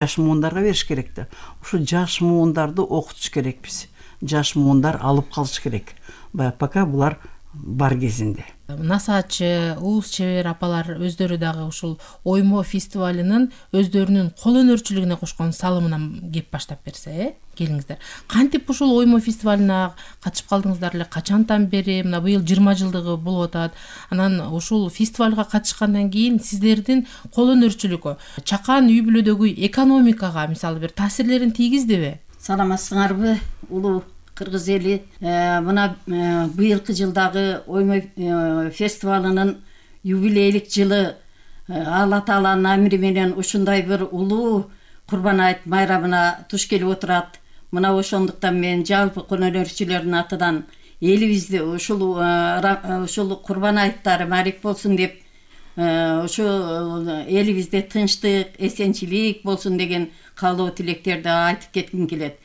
жаш муундарга бериш керек да. Ушу жаш муундарды окутуш керекпиз. Жаш муундар алып калыш керек. Пока булар бар кезинде. Насаачы, уус чебер апалар өздөрү дагы ушул оймо фестивалынын өздөрүнүн кол өнөрчүлүгүнө кошкон салымынан кеп баштап берсе, келиңиздер. Кантип ушул оймо фестивалына катышып калдыңыздар эле? Качантан бери? Мына быйыл 20 жылдыгы болуп атат. Анан ушул фестивалга катышкандан кийин сиздердин кол өнөрчүлүккө, чакан үй бүлөдөгү экономикага мисалы бир таасирлерин тийгиздиби? Саламатсыңарбы, улуу кыргыз эли? Мына быйылкы жылдагы оймо фестивалынын юбилейлик жылы Алла Тааланын амри менен ушундай бир улуу Курбан айт майрамына туш келип отурат. Мына ошондуктан мен жалпы кол өнөрчүлөрдүн атынан элибизде ушул Курбан айттары маарик болсун деп, ушул элибизде тынчтык, эсенчилик болсун деген каалоо тилектерди айтып кетким келет.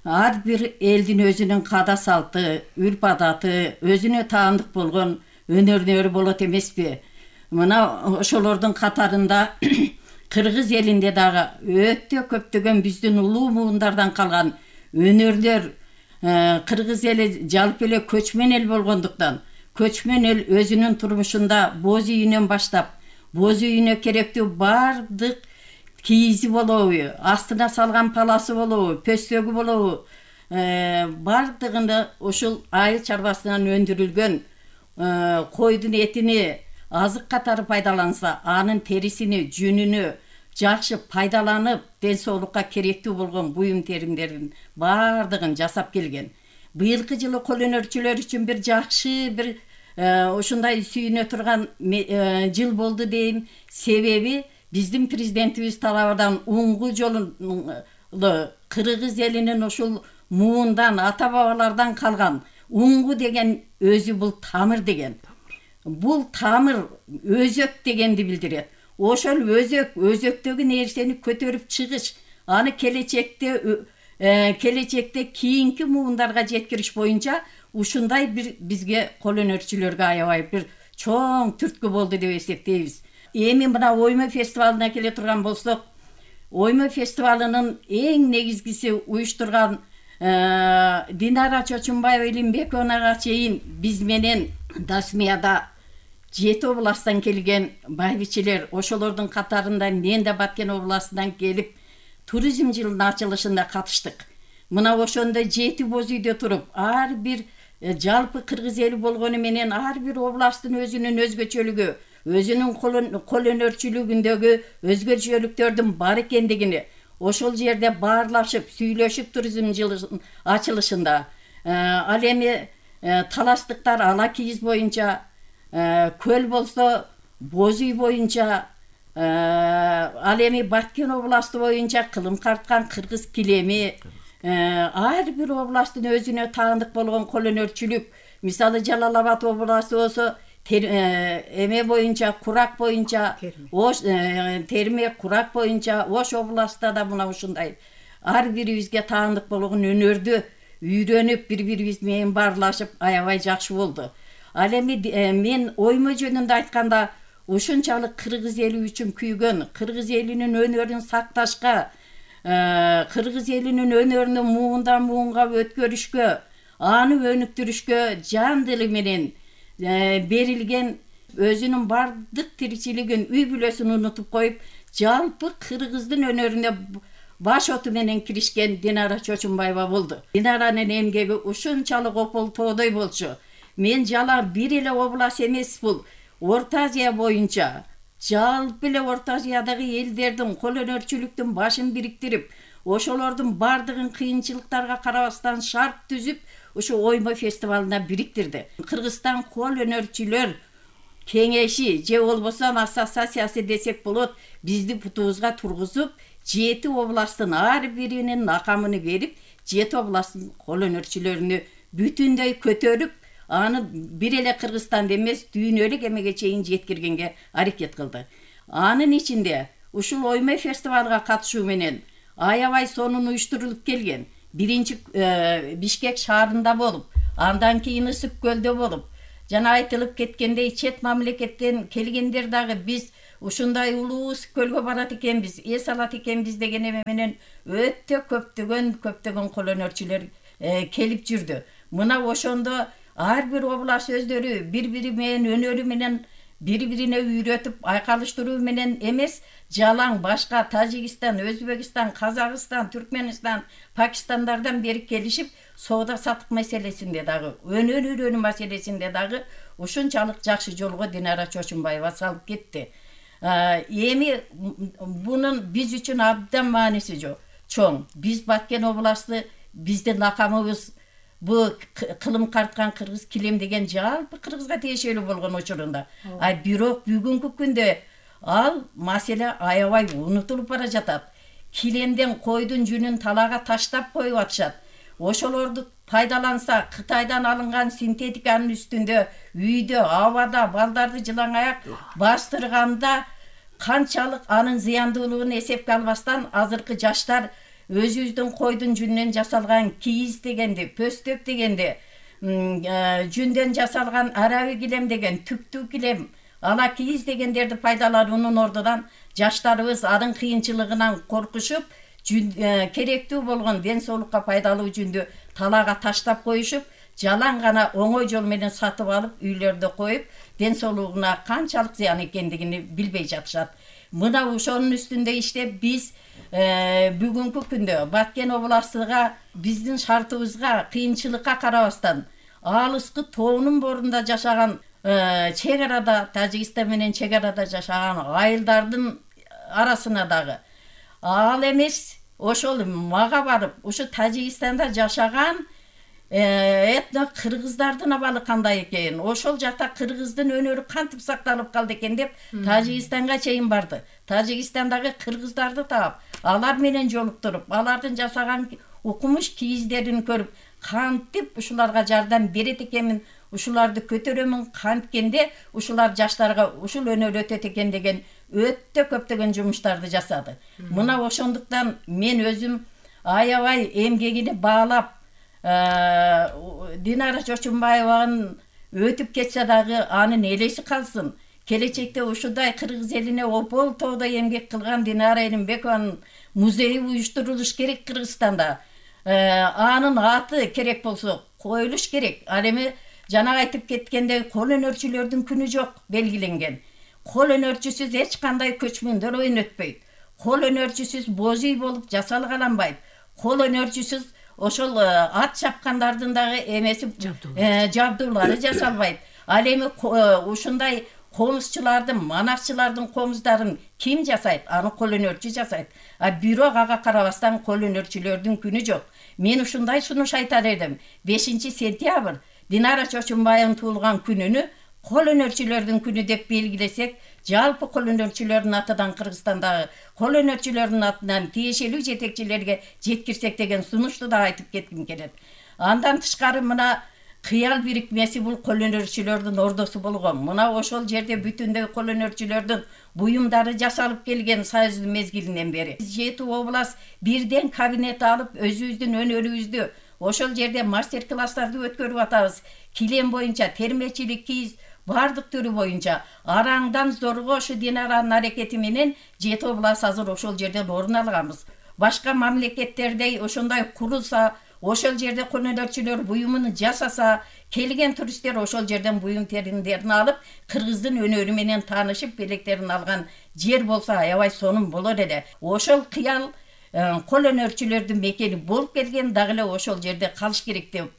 Ар бир элдин өзүнүн када салты, үрп адаты, өзүнө таандык болгон өнөрлөрү болот эмеспи? Мына ошолордун катарында кыргыз элинде дагы өтө көптөгөн биздин улуу муундардан калган өнөрлөр, кыргыз эли жалпы эле көчмөн эл болгондуктан, көчмөн эл өзүнүн турмушунда боз үйүнөн баштап, боз үйүнө керектүү бардык кийизи болобу, астына салган паласы болобу, пөстөгү болобу, бардыгында ушул айыл чарбасынан өндүрүлгөн койдун этини азык катары пайдаланса, анын терисини, жүнүнү жакшы пайдаланып, ден соолукка керектүү болгон буюм теримдердин бардыгын жасап келген. Быйылкы жылы кол өнөрчүлөр үчүн бир жакшы, бир ушундай сүйүнө турган жыл болду дейм. Себеби биздин президентибиз тарабынан уңгу жолу кыргыз элинин ушул муундан, ата бабалардан калган уңгу деген өзү бул тамыр деген. Бул тамыр өзөк дегенди билдирет. Ошол өзөктөгү нерсени көтөрүп чыгыш, аны келечекте кийинки муундарга жеткириш боюнча ушундай бир бизге кол өнөрчүлөргө аябай бир чоң түрткү болду деп эсептейбиз. Эми мына оймо фестивалына келе турган болсок, оймо фестивалынын эң негизгиси уюштурган Динара Чочунбаева Илимбековнага чейин биз менен Дасмияда 7 областтан келген байбичелер, ошолордун катарында мен да Баткен областынан келип, туризм жылынын ачылышында катыштык. Мына ошондо 7 боз үйдө туруп, ар бир жалпы кыргыз эли болгону менен ар бир областтын өзүнүн өзгөчөлүгү, өзүнүн кол өнөрчүлүгүндөгү өзгөчөлүктөрдүн бар экендигини ошол жерде баарлашып, сүйлөшүп туризм жылынын ачылышында. Ал эми таластыктар ала кийиз боюнча, көл болсо боз үй боюнча, ал эми Баткен областы боюнча кылым карткан кыргыз килеми, ар бир областтын өзүнө таандык болгон кол өнөрчүлүк. Мисалы Жалал Абад областы болсо эме боюнча, курак боюнча, терме курак боюнча, Ош областта да мына ушундай ар бирибизге таандык болгон өнөрдү үйрөнүп, бири-бирибиз менен баарлашып аябай жакшы болду. Ал эми мен оймо жөнүндө айтканда, ушунчалык кыргыз эли үчүн күйгөн, кыргыз элинин өнөрүн сакташка, кыргыз элинин өнөрүнү муундан муунга өткөрүшкө, аны өнүктүрүшкө жан дили менен берилген, өзүнүн бардык тиричилигин, үй бүлөсүн унутуп коюп, жалпы кыргыздын өнөрүнө баш оту менен киришкен Динара Чочунбаева болду. Динаранын эмгеги ушунчалык опол тоодой болчу. Мен жала бир эле область эмес бул, Орто Азия боюнча, жалпы эле Орто Азиядагы элдердин кол өнөрчүлүктүн башын бириктирип, ошолордун бардыгын кыйынчылыктарга карабастан шарт түзүп, ушу оймо фестивалына бириктирди. Кыргызстан кол өнөрчүлөр кеңеши же болбосо ассоциациясы десек болот, бизди бутубузга тургузуп, 7 областтын ар биринин накамын берип, 7 областтын кол өнөрчүлөрүнү бүтүндөй көтөрүп, аны бир эле Кыргызстанда эмес, дүйнөлүк эмеге чейин жеткиргенге аракет кылды. Анын ичинде ушул оймо фестивалга катышуу менен аябай сонун уюштурулуп келген. Биринчи Бишкек шаарында болуп, андан кийин Ысык көлдө болуп, жана айтылып кеткендей чет мамлекеттен келгендер дагы биз ушундай улуубуз көлгө барат экенбиз, эс алат экенбиз деген эме менен өтө көптөгөн кол өнөрчүлөр келип жүрдү. Мына ошондо ар бир область өздөрү бири-бири менен өнөрү менен бири-бирине үйрөтүп айкалыштыруу менен эмес, жалаң башка Тажикстан, Өзбекстан, Казакстан, Түркменстан, Пакистандардан бери келишип, соода сатык маселесинде дагы, өнөр үйрөнүү маселесинде дагы ушунчалык жакшы жолго Динара Чочумбаева салып кетти. Эми бунун биз үчүн абдан мааниси чоң. Биз Баткен областы, биздин лакабыбыз бу кылым карткан кыргыз килем деген жалпы кыргызга тиешелүү болгон учурунда. Бирок бүгүнкү күндө ал маселе аябай унутулуп бара жатат. Килемден койдун жүнүн талаага таштап коюп атышат. Ошолорду пайдаланса, Кытайдан алынган синтетиканын үстүндө, үйдө, абада балдарды жылаң аяк бастырганда канчалык анын зыяндуулугун эсепке албастан азыркы жаштар өзүбүздүн койдун жүнүнөн жасалган кийиз дегенди, пөстөк дегенди, жүндөн жасалган араби килем деген, түктүү килем, ала кийиз дегендерди пайдалануунун ордунан жаштарыбыз анын кыйынчылыгынан коркушуп, керектүү болгон ден соолукка пайдалуу жүндү талаага таштап коюшуп, жалаң гана оңой жол менен сатып алып, үйлөрдө коюп, ден соолугуна канчалык зыян экендигин билбей жатышат. Мына ошонун үстүндө иштеп биз бүгүнкү күндө Баткен областыга биздин шартыбызга кыйынчылыкка карабастан алыскы тоонун борунда жашаган чек арада Тажикстан менен чек арада жашаган айылдардын арасына дагы ал эмес ошол мага барып ушу Тажикстанда жашаган этно кыргыздардын абалы кандай экен, ошол жакта кыргыздын өнөрү кантип сакталып калды экен деп Тажикстанга чейин барды. Тажикстандагы кыргыздарды таап, алар менен жолуктуруп, алардын жасаган укмуш кийиздерин көрүп, кантип ушуларга жардам берет экенмин, ушуларды көтөрөмүн канткенде ушулар жаштарга ушул өнөр өтөт экен деген өтө көптөгөн жумуштарды жасады. Мына ошондуктан мен өзүм аябай эмгегине баалап Динара Чочумбаеванын өтүп кетсе дагы анын элеси калсын. Келечекте ушундай кыргыз элине опол тоодо эмгек кылган Динара Элимбекованын музейи уюштурулуш керек Кыргызстанда. Анын аты керек болсо коюлуш керек. Ал эми жана айтып кеткендей кол өнөрчүлөрдүн күнү жок белгиленген. Кол өнөрчүсүз эч кандай көчмөндөр ойун өтпөйт. Кол өнөрчүсүз боз үй болуп жасалгаланбайт. Кол өнөрчүсүз ошол ат чапкандардын дагы эмеси жабдуулары жасалбайт. Ал эми ушундай комузчулардын, манакчылардын комуздарын ким жасайт? Аны кол өнөрчү жасайт. Бирок ага карабастан кол өнөрчүлөрдүн күнү жок. Мен ушундай сунуш айтар едим. 5 сентябрь Динара Чочумбаеванын туулган күнүнү кол өнөрчүлөрдүн күнү деп белгилесек, жалпы кол өнөрчүлөрдүн атынан Кыргызстандагы кол өнөрчүлөрдүн атынан тиешелүү жетекчилерге жеткирсек деген сунушту да айтып кетким келет. Андан тышкары мына кыял бирикмеси бул кол өнөрчүлөрдүн ордосу болгон. Мына ошол жерде бүтүндөй кол өнөрчүлөрдүн буюмдары жасалып келген Союздун мезгилинен бери. 7 область бирден кабинет алып, өзүбүздүн өнөрүбүздү ошол жерде мастер-класстарды өткөрүп атабыз. Килем боюнча, термечилик, кийиз бардык түрү боюнча араңдан зорго ушу Динаранын аракети менен 7 область азыр ошол жерден орун алганбыз. Башка мамлекеттердей ошондой курулса, ошол жерде кол өнөрчүлөр буюмун жасаса, келген туристтер ошол жерден буюм териндерин алып, кыргыздын өнөрү менен таанышып, белектерин алган жер болсо аябай сонун болор эле. Ошол кыял кол өнөрчүлөрдүн мекени болуп келген, дагы эле ошол жерде калыш керек деп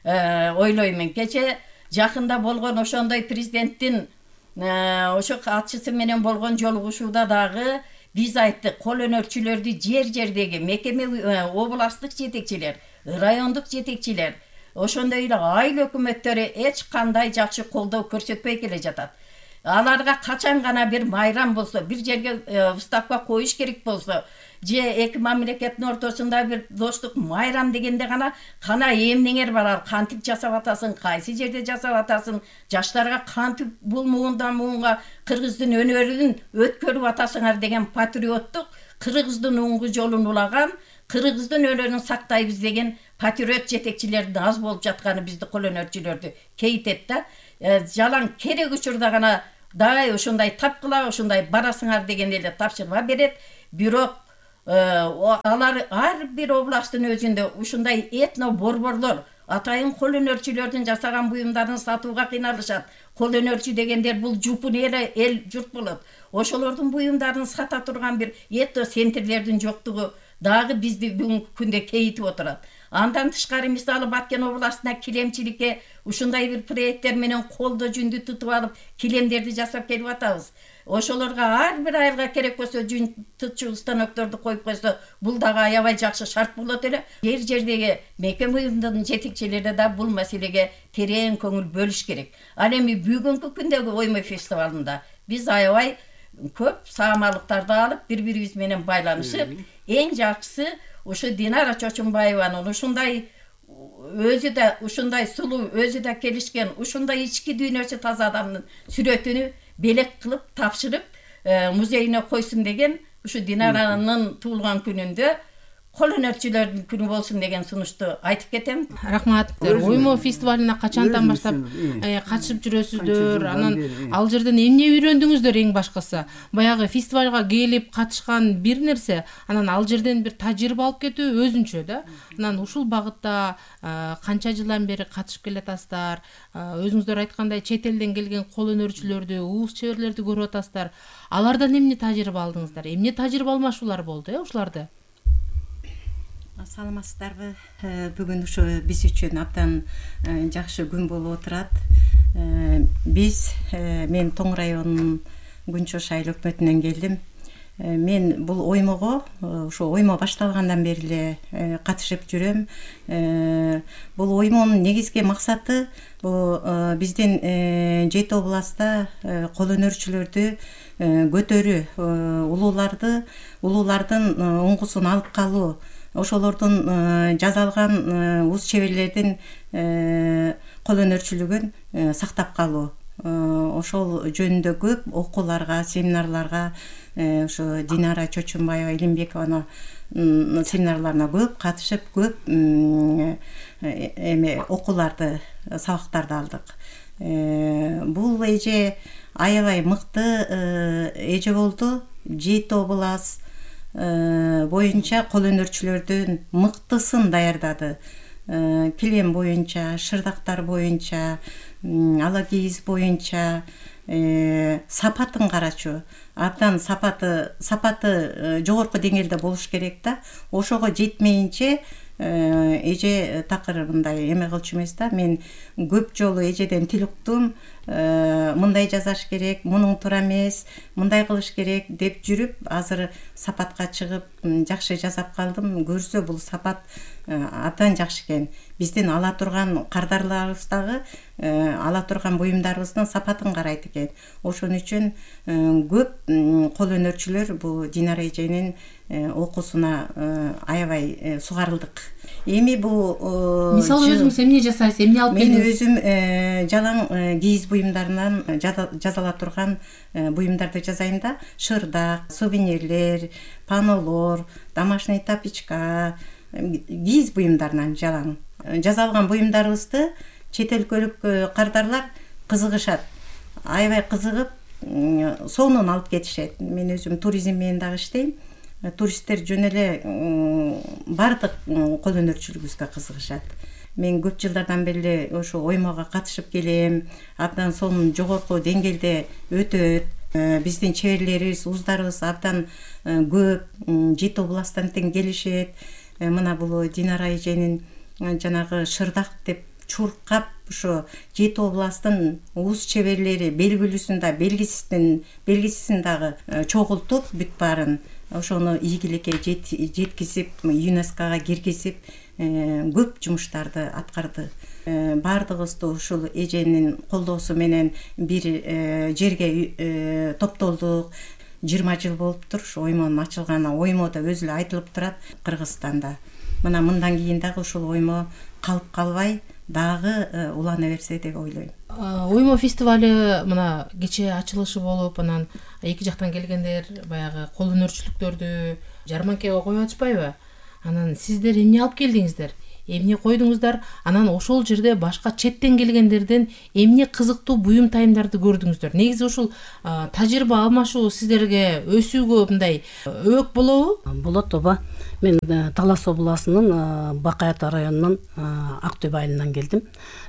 ойлоймун. Кече жакында болгон ошондой президенттин ошо катчысы менен болгон жолугушууда дагы биз айттык, кол өнөрчүлөрдү жер-жердеги мекеме областтык жетекчилер, райондук жетекчилер, ошондой эле айыл өкмөттөрү эч кандай жакшы колдоо көрсөтпөй келе жатат. Аларга качан гана бир майрам болсо, бир жерге выставка коюш керек болсо, же эки мамлекеттин ортосунда бир достук майрам дегенде гана кана эмнеңер бар, ал кантип жасап атасың, кайсы жерде жасап атасың, жаштарга кантип бул муундан муунга кыргыздын өнөрүн өткөрүп атасыңар деген патриоттук, кыргыздын оңгу жолун улаган, кыргыздын өнөрүн сактайбыз деген патриот жетекчилердин аз болуп жатканы бизди кол өнөрчүлөрдү кейтет да. Жалаң керек учурда гана дагы ушундай тапкыла, ушундай барасыңар деген эле тапшырма берет. Бирок алар ар бир областтын өзүндө ушундай этно борборлор атайын кол өнөрчүлөрдүн жасаган буюмдарын сатууга кыйналышат. Кол өнөрчү дегендер бул жупун эл журт болот. Ошолордун буюмдарын сата турган бир этно центрлердин жоктугу дагы бизди бүгүнкү күндө кейитип отурат. Андан тышкары мисалы Баткен областына килемчиликке ушундай бир проекттер менен колдо жүндү тутуп алып килемдерди жасап келип атабыз. Ошолорго ар бир айылга керек болсо жүн тутчу станокторду коюп койсо, бул дагы аябай жакшы шарт болот эле. Жердеги мейкем уюмдун жетекчилери да бул маселеге терең көңүл бөлүш керек. Ал эми бүгүнкү күндөгү оймо фестивалында биз аябай көп саамалыктарды алып, бири-бирибиз менен байланышып, эң жакшысы ушу Динара Чочумбаеванын ушундай өзү да ушундай сулуу, өзү да келишкен, ушундай ички дүйнөсү таза адамдын сүрөтүнү белек кылып тапшырып музейине койсун деген ушу Динаранын туулган күнүндө кол өнөрчүлөрдүн күнү болсун деген сунушту айтып кетем. Рахмат. Оймо фестивалына качантан баштап катышып жүрөсүздөр? Анан ал жерден эмне үйрөндүңүздөр эң башкысы? Баягы фестивалга келип катышкан бир нерсе, анан ал жерден бир тажрыйба алып кетүү өзүнчө да. Анан ушул багытта канча жылдан бери катышып келатасыздар? Өзүңүздөр айткандай чет элден келген кол өнөрчүлөрдү, уус чеберлерди көрүп атасыздар. Алардан эмне тажрыйба алдыңыздар? Эмне тажрыйба алмашуулар болду, ушуларды? Саламатсыздарбы? Бүгүн ушу биз үчүн абдан жакшы күн болуп отурат. Мен Тоң районунун Күнчош айыл өкмөтүнөн келдим. Мен бул оймого ошо оймо башталгандан бери эле катышып жүрөм. Бул оймонун негизги максаты бул биздин Жети областта кол өнөрчүлөрдү көтөрүү, улуулардын оңгусун алып калуу, ошолордун жазалган уус чеберлердин кол өнөрчүлүгүн сактап калуу. Ошол жөнүндө көп окууларга, семинарларга, ошо Динара Чочумбаева, Илимбекованын семинарларына көп катышып, көп окууларды, сабактарды алдык. Бул эже аябай мыкты эже болду. Жети област боюнча кол өнөрчүлөрдүн мыктысын даярдады. Килем боюнча, шырдактар боюнча, ала кийиз боюнча сапатын карачу. Абдан сапаты жогорку деңгээлде болуш керек да. Ошого жетмейинче эже такыр мындай эме кылчу эмес да. Мен көп жолу эжеден тил уктум. Мындай жасаш керек, мунуң туура эмес, мындай кылыш керек деп жүрүп, азыр сапатка чыгып жакшы жасап калдым. Көрсө бул сапат абдан жакшы экен. Биздин ала турган кардарларыбыз дагы ала турган буюмдарыбыздын сапатын карайт экен. Ошон үчүн көп кол өнөрчүлөр бул Динара эженин окуусуна аябай сугарылдык. Эми бул мисалы өзүңүз эмне жасайсыз, эмне алып келдиңиз? Мен өзүм жалаң кийиз буюмдарынан жазала турган буюмдарды жасайм да. Шырдак, сувенирлер, панолор, домашний тапичка, кийиз буюмдарынан жалаң жасалган буюмдарыбызды чет өлкөлүк кардарлар кызыгышат. Аябай кызыгып, сонун алып кетишет. Мен өзүм туризм менен дагы иштейм. Туристтер жөн эле бардык кол өнөрчүлүгүбүзгө кызыгышат. Мен көп жылдардан бери ошо оймого катышып келем. Абдан сонун жогорку деңгээлде өтөт. Биздин чеберлерибиз, ууздарыбыз абдан көп, Жети областтан тең келишет. Мына бул Динара эженин жанагы шырдак деп чуркап ошо Жети областтын уус чеберлери белгилүүсүн да, белгисин дагы чогултуп бүт баарын ошону ийгиликке жеткизип, ЮНЕСКОга киргизип, көп жумуштарды аткарды. Бардыгыбызды ушул эженин колдоосу менен бир жерге топтолдук. 20 жыл болуптур ушу оймонун ачылганына. Оймодо өзү эле айтылып турат Кыргызстанда. Мына мындан кийин дагы ушул оймо калып калбай дагы улана берсе деп ойлойм. Оймо фестивалы мына кечээ ачылышы болуп, анан эки жактан келгендер баягы кол өнөрчүлүктөрдү жарманкага коюп атышпайбы? Анан сиздер эмне алып келдиңиздер? эмне койдуңуздар, анан ошол жерде башка четтен келгендерден эмне кызыктуу буюм тайымдарды көрдүңүздөр? Негизи ушул тажрыйба алмашуу сиздерге өсүүгө мындай өбөк болобу? Болот, ооба. Мен Талас областынын Бакай Ата районунун Ак Төбө айылынан келдим.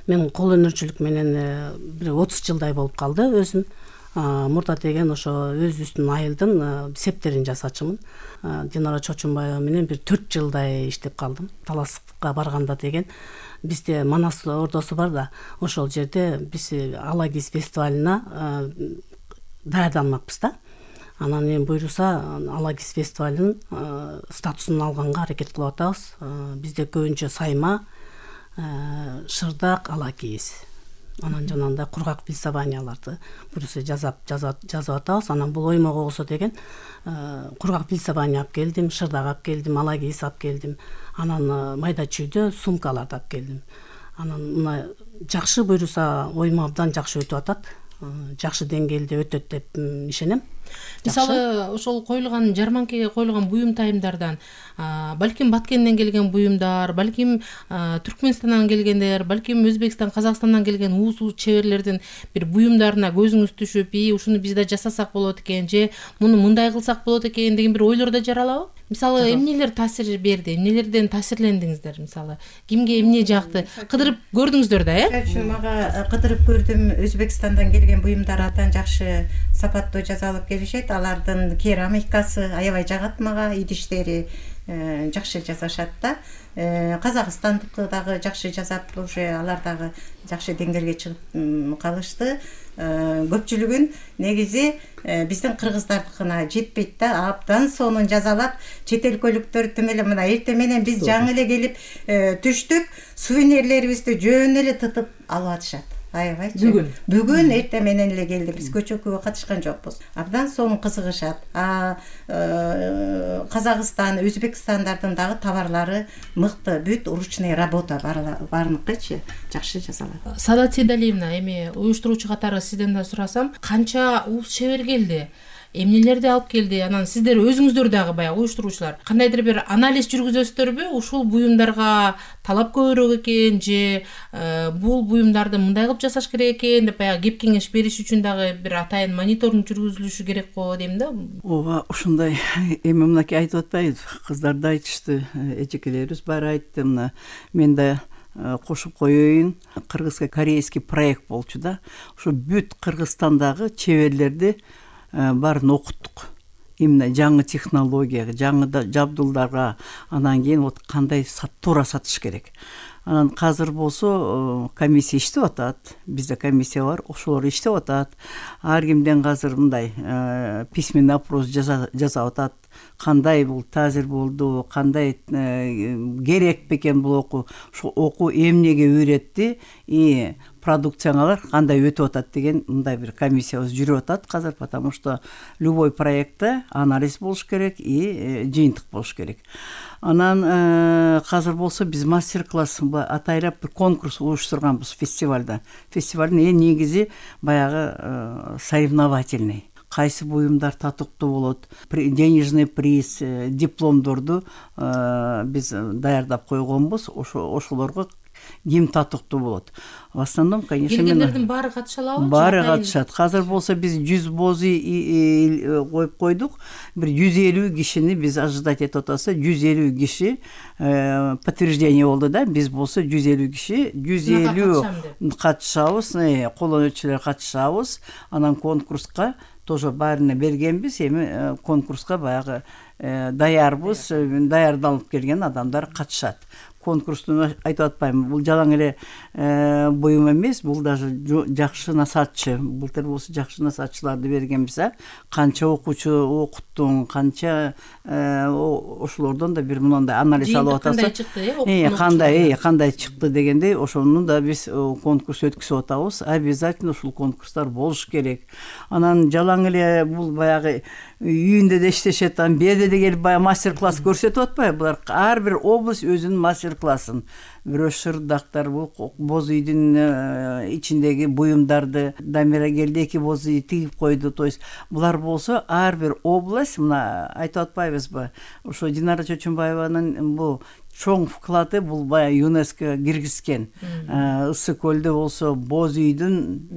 Мен кол өнөрчүлүк менен бир 30 жылдай болуп калды өзүм. Мурда деген ошо өзүбүздүн айылдын септерин жасачумун. Динара Чочунбаева менен бир 4 жылдай иштеп калдым. Таласка барганда деген бизде Манас ордосу бар да, ошол жерде биз Алагиз фестивалына даярданмакпыз да. Анан эми буйруса Алагиз фестивалынын статусун алганга аракет кылып атабыз. Бизде көбүнчө сайма, шырдак, Алагиз. Анан жанагындай кургак пилсаванияларды буйруса жазып атабыз. Анан бул оймого болсо деген кургак пилсавания алып келдим, шырдак алып келдим, Алагиз алып келдим. Анан майда чүйдө сумкаларды алып келдим. Анан мына жакшы буйруса оймо абдан жакшы өтүп атат. Жакшы деңгээлде өтөт деп ишенем. Мисалы ошол коюлган жарманкеге коюлган буюм тайымдардан балким Баткенден келген буюмдар, балким Түркмөнстандан келгендер, балким Өзбекстан, Казакстандан келген уус чеберлердин бир буюмдарына көзүңүз түшүп, ушуну биз да жасасак болот экен, же муну мындай кылсак болот экен деген бир ойлор да жаралабы? Мисалы эмнелер таасир берди, эмнелерден таасирлендиңиздер? Мисалы кимге эмне жакты? Кыдырып көрдүңүздөр да, Мага кыдырып көрдүм. Өзбекстандан келген буюмдар абдан жакшы сапаттуу жасалып келишет. Алардын керамикасы аябай жагат мага, идиштери жакшы жасашат да. Казакстандыкы дагы жакшы жасап, уже алар дагы жакшы деңгээлге чыгып калышты. Көпчүлүгүн негизи биздин кыргыздардыкына жетпейт да, абдан сонун жазалап, чет өлкөлүктөр тим эле мына эртең менен биз жаңы эле келип түштүк, сувенирлерибизди жөн эле тытып алып атышат. Аябайчы. Бүгүн эртең менен эле келди, биз көчөккөгө катышкан жокпуз. Абдан сонун кызыгышат. Казакстан, Өзбекстандардын дагы товарлары мыкты, бүт ручной работа баарыныкычы жакшы жасалат. Саадат Сейдалиевна, эми уюштуруучу катары сизден да сурасам, канча уус чебер келди? Эмнелерди алып келди? Анан сиздер өзүңүздөр дагы баягы уюштуруучулар кандайдыр бир анализ жүргүзөсүздөрбү? Ушул буюмдарга талап көбүрөөк экен, же бул буюмдарды мындай кылып жасаш керек экен деп баягы кеп кеңеш бериш үчүн дагы бир атайын мониторинг жүргүзүлүшү керек го дейм да. Ооба, ушундай эми мынакей айтып атпайбыз. Кыздар да айтышты, эжекелерибиз баары айтты. Мына мен да кошуп коеюн. Кыргызский корейский проект болчу да. Ушу бүт Кыргызстандагы чеберлерди баарын окуттук. Именно жаңы технологияга, жаңы жабдуулдарга, анан кийин вот кандай туура сатыш керек. Анан азыр болсо комиссия иштеп атат. Бизде комиссия бар, ошолор иштеп атат. Ар кимден азыр мындай письменный опрос жасап атат. Кандай бул таасир болду, кандай керек бекен бул окуу, ошо окуу эмнеге үйрөттү и продукцияңалар кандай өтүп атат деген мындай бир комиссиябыз жүрүп атат азыр, потому что любой проектте анализ болуш керек и жыйынтык болуш керек. Анан азыр болсо биз мастер-класс атайрап бир конкурс уюштурганбыз фестивалда. Фестивалдын эң негизи баягы соревновательный. Кайсы буюмдар татыктуу болот, денежный приз, дипломдорду биз даярдап койгонбуз. Ошолорго ким татыктуу болот. В основном, конечно, келгендердин баары катыша алабы? Баары катышат. Азыр болсо биз 100 бозы коюп койдук. Бир 150 кишини биз ожидать этип атабыз. 150 киши подтверждение болду да. Биз болсо 150 киши, 150 катышабыз, колдонуучулар катышабыз. Анан конкурска тоже баарына бергенбиз. Эми конкурска баягы даярбыз, даярдалып келген адамдар катышат. Конкурстун айтып атпайм, бул жалаң эле буюм эмес, бул даже жакшы насаатчы. Былтыр болсо жакшы насаатчыларды бергенбиз, канча окуучу окуттуң, канча ошолордон да бир мындай анализ алып атасыз. Кандай чыкты дегендей, ошону да биз конкурс өткүзүп атабыз. Обязательно ушул конкурстар болуш керек. Анан жалаң эле бул баягы үйүндө да иштешет, бул жерде де келип баягы мастер-класс көрсөтүп атпайбы? Булар ар бир область өзүнүн мастер кыласың. Бирөө шырдактар, бул боз үйдүн ичиндеги буюмдарды Дамира келди, 2 боз үй тигип койду. То есть булар болсо ар бир область, мына айтып атпайбызбы, ошо Динара Чочунбаеванын бул чоң вклады, бул баягы ЮНЕСКО киргизген. Ысык көлдө болсо боз үйдүн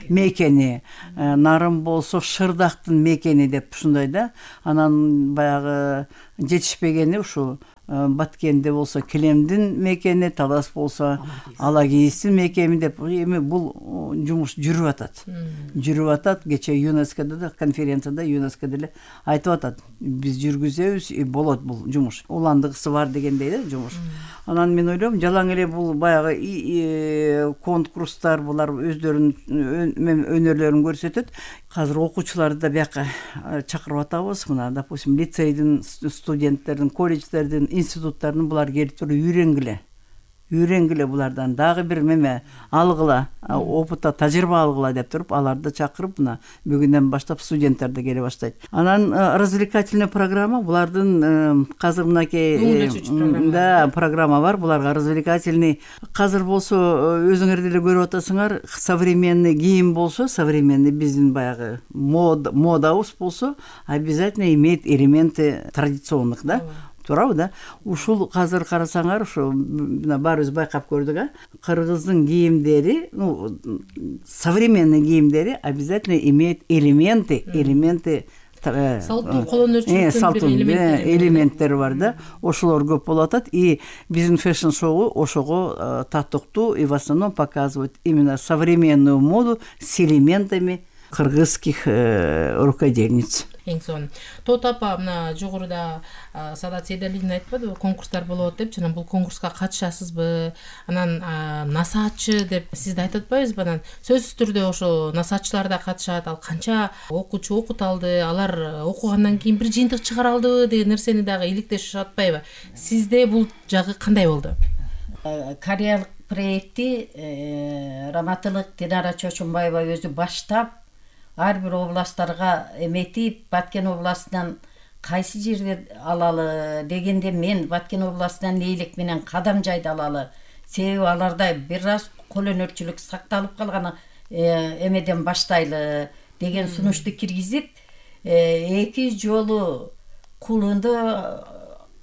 мекени, Нарын болсо шырдактын мекени деп ушундай да. Анан баягы жетишпегени ушу Баткенде болсо Килемдин мекени, Талас болсо Алагийиздин мекени деп эми бул жумуш жүрүп атат. Жүрүп атат. Кечээ ЮНЕСКОдо да, конференцияда ЮНЕСКО деле айтып атат. Биз жүргүзөбүз, болот бул жумуш. Уландыгысы бар дегендей да жумуш. Анан мен ойлойм, жалаң эле бул баягы конкурстар, булар өздөрүнүн өнөрлөрүн көрсөтөт. Азыр окуучуларды да бияка чакырып атабыз. Мына, допустим, лицейдин студенттердин, колледждердин, институттардын булар келип туруп үйрөнгүлө булардан дагы бир меме алгыла, опытта тажрыйба алгыла деп туруп, аларды чакырып, мына бүгүндөн баштап студенттер да келе баштайт. Анан развлекательный программа, булардын казыр мынакей программа бар, буларга развлекательный. Казыр болсо өзүңөр деле көрүп атасыңар, современный кийим болсо, современный биздин баягы модабыз болсо, обязательно имеет элементы традиционных, да? Туурабы да? Ушул казыр карасаңар, ушу баарыбыз байкап көрдүк, кыргыздын кийимдери, современный кийимдери обязательно имеет элементы салттуу кол өнөрчүлүктүн элементтери бар да. Ошолор көп болуп атат. И биздин фэшн-шоу ошого татыктуу и в основном показывают именно современную моду с элементами кыргызских рукодельниц. Эң сонун. Тоот апа, мына жогоруда Саадат Сейдалидин айтпадыбы, конкурстар болот деп, жана бул конкурска катышасызбы? Анан насаатчы деп сизди айтып атпайбызбы? Анан сөзсүз түрдө ошо насаатчылар да катышат. Ал канча окуучу окут алды, алар окугандан кийин бир жыйынтык чыгара алдыбы деген нерсени дагы иликтешип атпайбы? Сизде бул жагы кандай болду? Кореялык проекти Раматылык Динара Чочунбаева өзү баштап, ар бир областтарга эметип, Баткен областынан кайсы жерде алалы дегенде, мен Баткен областынан Лейлек менен Кадамжайды алалы. Себеби аларда бир аз кол өнөрчүлүк сакталып калган эмеден баштайлы деген сунушту киргизип, 2 жолу кулунду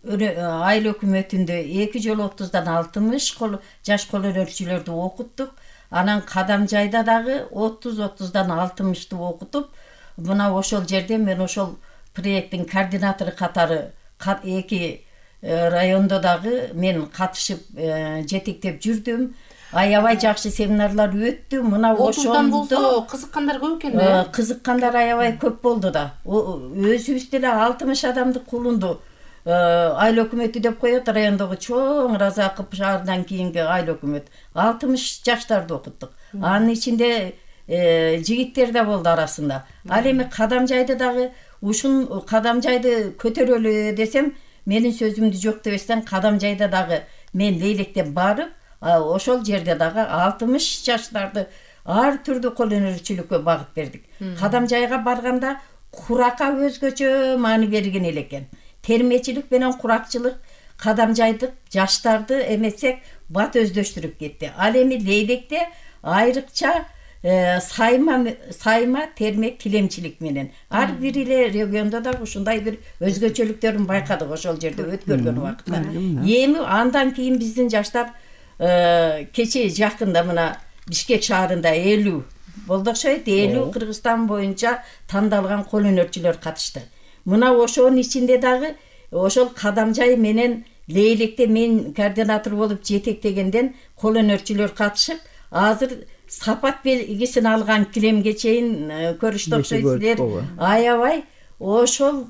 айыл өкмөтүндө 2 жолу 30дан 60 жаш кол өнөрчүлөрдү окуттук. Анан Кадамжайда дагы 30-30дан 60-ты окутуп, мына ошол жерде мен ошол проекттин координатору катары 2 райондо дагы мен катышып жетектеп жүрдүм. Аябай жакшы семинарлар өттү. Мына ошондон болсо кызыккандар көп экен да. Кызыккандар аябай көп болду да. Өзүбүз деле 60 адамды кулунду айыл өкмөтү деп коет, райондогу чоң Разаков шаарынан кийинки айыл өкмөт. 60 жаштарды окуттук. Анын ичинде жигиттер да болду арасында. Ал эми Кадамжайды дагы, ушун Кадамжайды көтөрөлү десем, менин сөзүмдү жок дебестен Кадамжайда дагы мен Лейлектеп барып, ошол жерде дагы 60 жаштарды ар түрдүү кол өнөрчүлүккө багып бердик. Кадамжайга барганда куракка өзгөчө маани берген элекен. Термечилик менен куракчылык Кадамжайдык жаштарды эметсек бат өздөштүрүп кетти. Ал эми Лейлекте айрыкча сайма термек килемчилик менен ар бир эле региондо да ушундай бир өзгөчөлүктөрүн байкадык ошол жерде өткөргөн убакытта. Эми андан кийин биздин жаштар кечээ жакында мына Бишкек шаарында 50 болду окшойт. 50 Кыргызстан боюнча тандалган кол өнөрчүлөр катышты. Мына ошонун ичинде дагы ошол Кадамжай менен Лейлекте мен координатор болуп жетектегенден кол өнөрчүлөр катышып, азыр сапат белгисин алган килемге чейин көрүштү окшойсуздар. Аябай ошол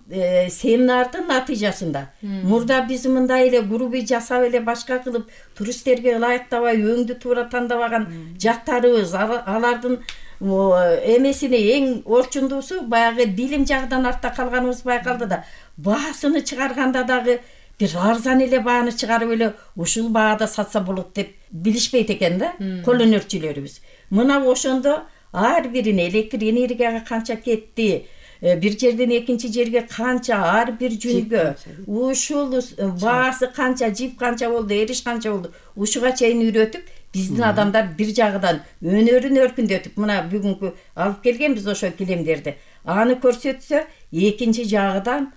семинардын натыйжасында. Мурда биз мындай эле группа жасап эле башка кылып туристтерге ылайыктабай өңдү туура тандабаган жактарыбыз, алардын эмесини эң орчундуусу баягы билим жагынан артта калганыбыз байкалды да. Баасыны чыгарганда дагы бир арзан эле бааны чыгарып эле ушул баада сатса болот деп билишпейт экен да кол өнөрчүлөрүбүз. Мына ошондо ар бирине электр энергияга канча кетти, бир жерден экинчи жерге канча, ар бир жүнгө ушул баасы канча, жип канча болду, эриш канча болду, ушуга чейин үйрөтүп, биздин адамдар бир жагынан өнөрүн өркүндөтүп, мына бүгүнкү алып келгенбиз ошо килемдерди. Аны көрсөтсө, экинчи жагынан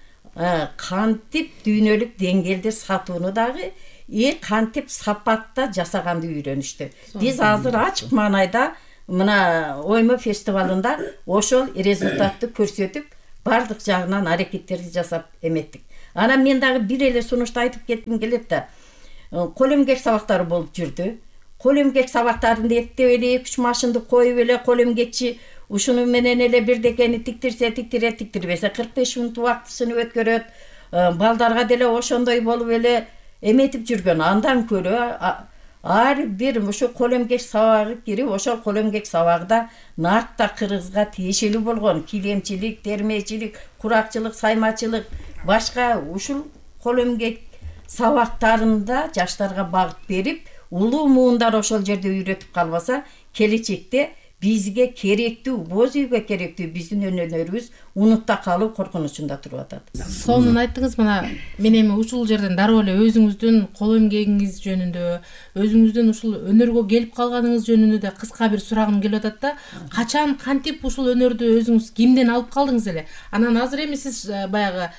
кантип дүйнөлүк деңгээлде сатууну дагы кантип сапатта жасаганды үйрөнүштү. Биз азыр ачык маанайда мына оймо фестивалында ошол результатты көрсөтүп, бардык жагынан аракеттерди жасап эметтик. Анан мен дагы бир эле сунушту айтып кетким келет да. Кол эмгек сабактары болуп жүрдү. Кол эмгек сабактарында эптеп эле 2-3 машинды коюп эле кол эмгекчи ушуну менен эле бирдекени тиктирбесе 45 мүнөт убактысын өткөрөт. Балдарга деле ошондой болуп эле эметип жүргөн. Андан көрө ар бир ушу кол эмгек сабагы кирип, ошол кол эмгек сабагында нарта Кыргызга тиешелүү болгон килемчилик, термечилик, куракчылык, саймачылык, башка ушул кол эмгек сабактарында жаштарга багыт берип, улуу муундар ошол жерде үйрөтүп калбаса, келечекте бизге керектүү, боз үйгө керектүү биздин өнөрүбүз унутта калуу коркунучунда туруп атат. Сонун айттыңыз. Мына мен эми ушул жерден дароо эле өзүңүздүн кол эмгегиңиз жөнүндө, өзүңүздүн ушул өнөргө келип калганыңыз жөнүндө да кыска бир сурагым келип атат да. Качан, кантип ушул өнөрдү өзүңүз кимден алып калдыңыз эле? Анан азыр эми сиз баягы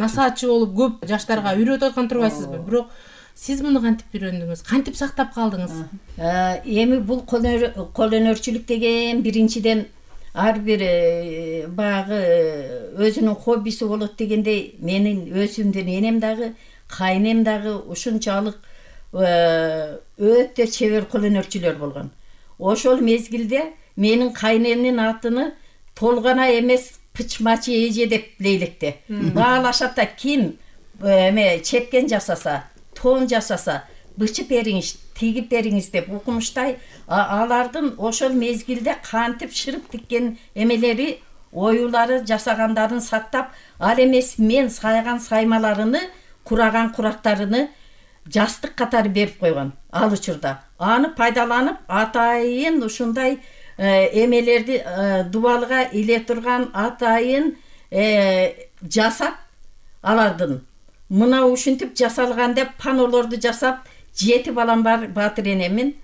насаатчы болуп көп жаштарга үйрөтүп аткан турбайсызбы? Бирок сиз муну кантип үйрөндүңүз? Кантип сактап калдыңыз? Эми бул кол өнөрчүлүк деген биринчиден ар бир баягы өзүнүн хоббиси болот дегендей, менин өзүмдүн энем дагы, кайнем дагы ушунчалык өтө чебер кол өнөрчүлөр болгон. Ошол мезгилде менин кайнемдин атыны Толгана эмес Пычмачы эже деп лейлекте. Баалашат да, ким чепкен жасаса, тон жасаса, бычып бериңиз, тигип бериңиз деп укмуштай, алардын ошол мезгилде кантип шырып тиккен эмелери, оюлары, жасагандарын сактап, ал эмес мен сайган саймаларыны, кураган курактарыны жастык катары берип койгон ал учурда. Аны пайдаланып, атайын ушундай эмелерди дубалга иле турган атайын жасап алардын. Мына ушинтип жасалган деп панолорду жасап, 7 балам бар, Батыр энемин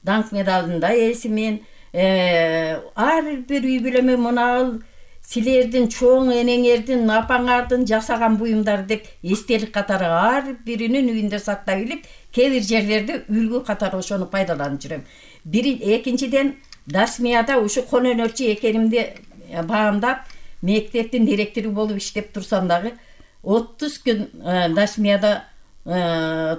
даңк медалында ээсимин. Ар бир үй бүлөмө мына силердин чоң энеңердин, апаңардын жасаган буюмдар деп эстелик катары ар биринин үйүндө сактап илип, кээ бир жерлерде үлгү катары ошону пайдаланып жүрөм. Экинчиден, Дасмияда ушу кол өнөрчү экенимди баамдап, мектептин директору болуп иштеп турсам дагы 30 күн Дасмияда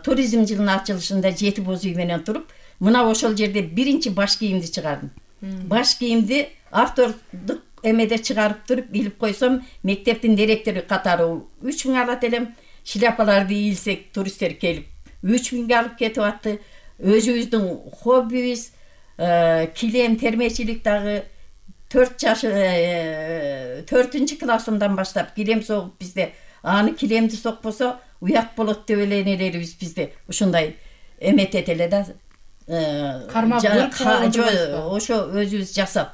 туризм жылынын ачылышында 7 боз үй менен туруп, мына ошол жерде биринчи баш кийимди чыгардым. Баш кийимди автордук эмеде чыгарып туруп илип койсом, мектептин директору катары 3000 алат элем. Шляпаларды ийилсек, туристтер келип 3000 алып кетип атты. Өзүбүздүн хоббибиз килем термечилик дагы 4 классымдан баштап килем согуп бизде, аны килемди сокпосо уят болот деп эле энелерибиз бизде ушундай эметет эле да. Ошо өзүбүз жасап.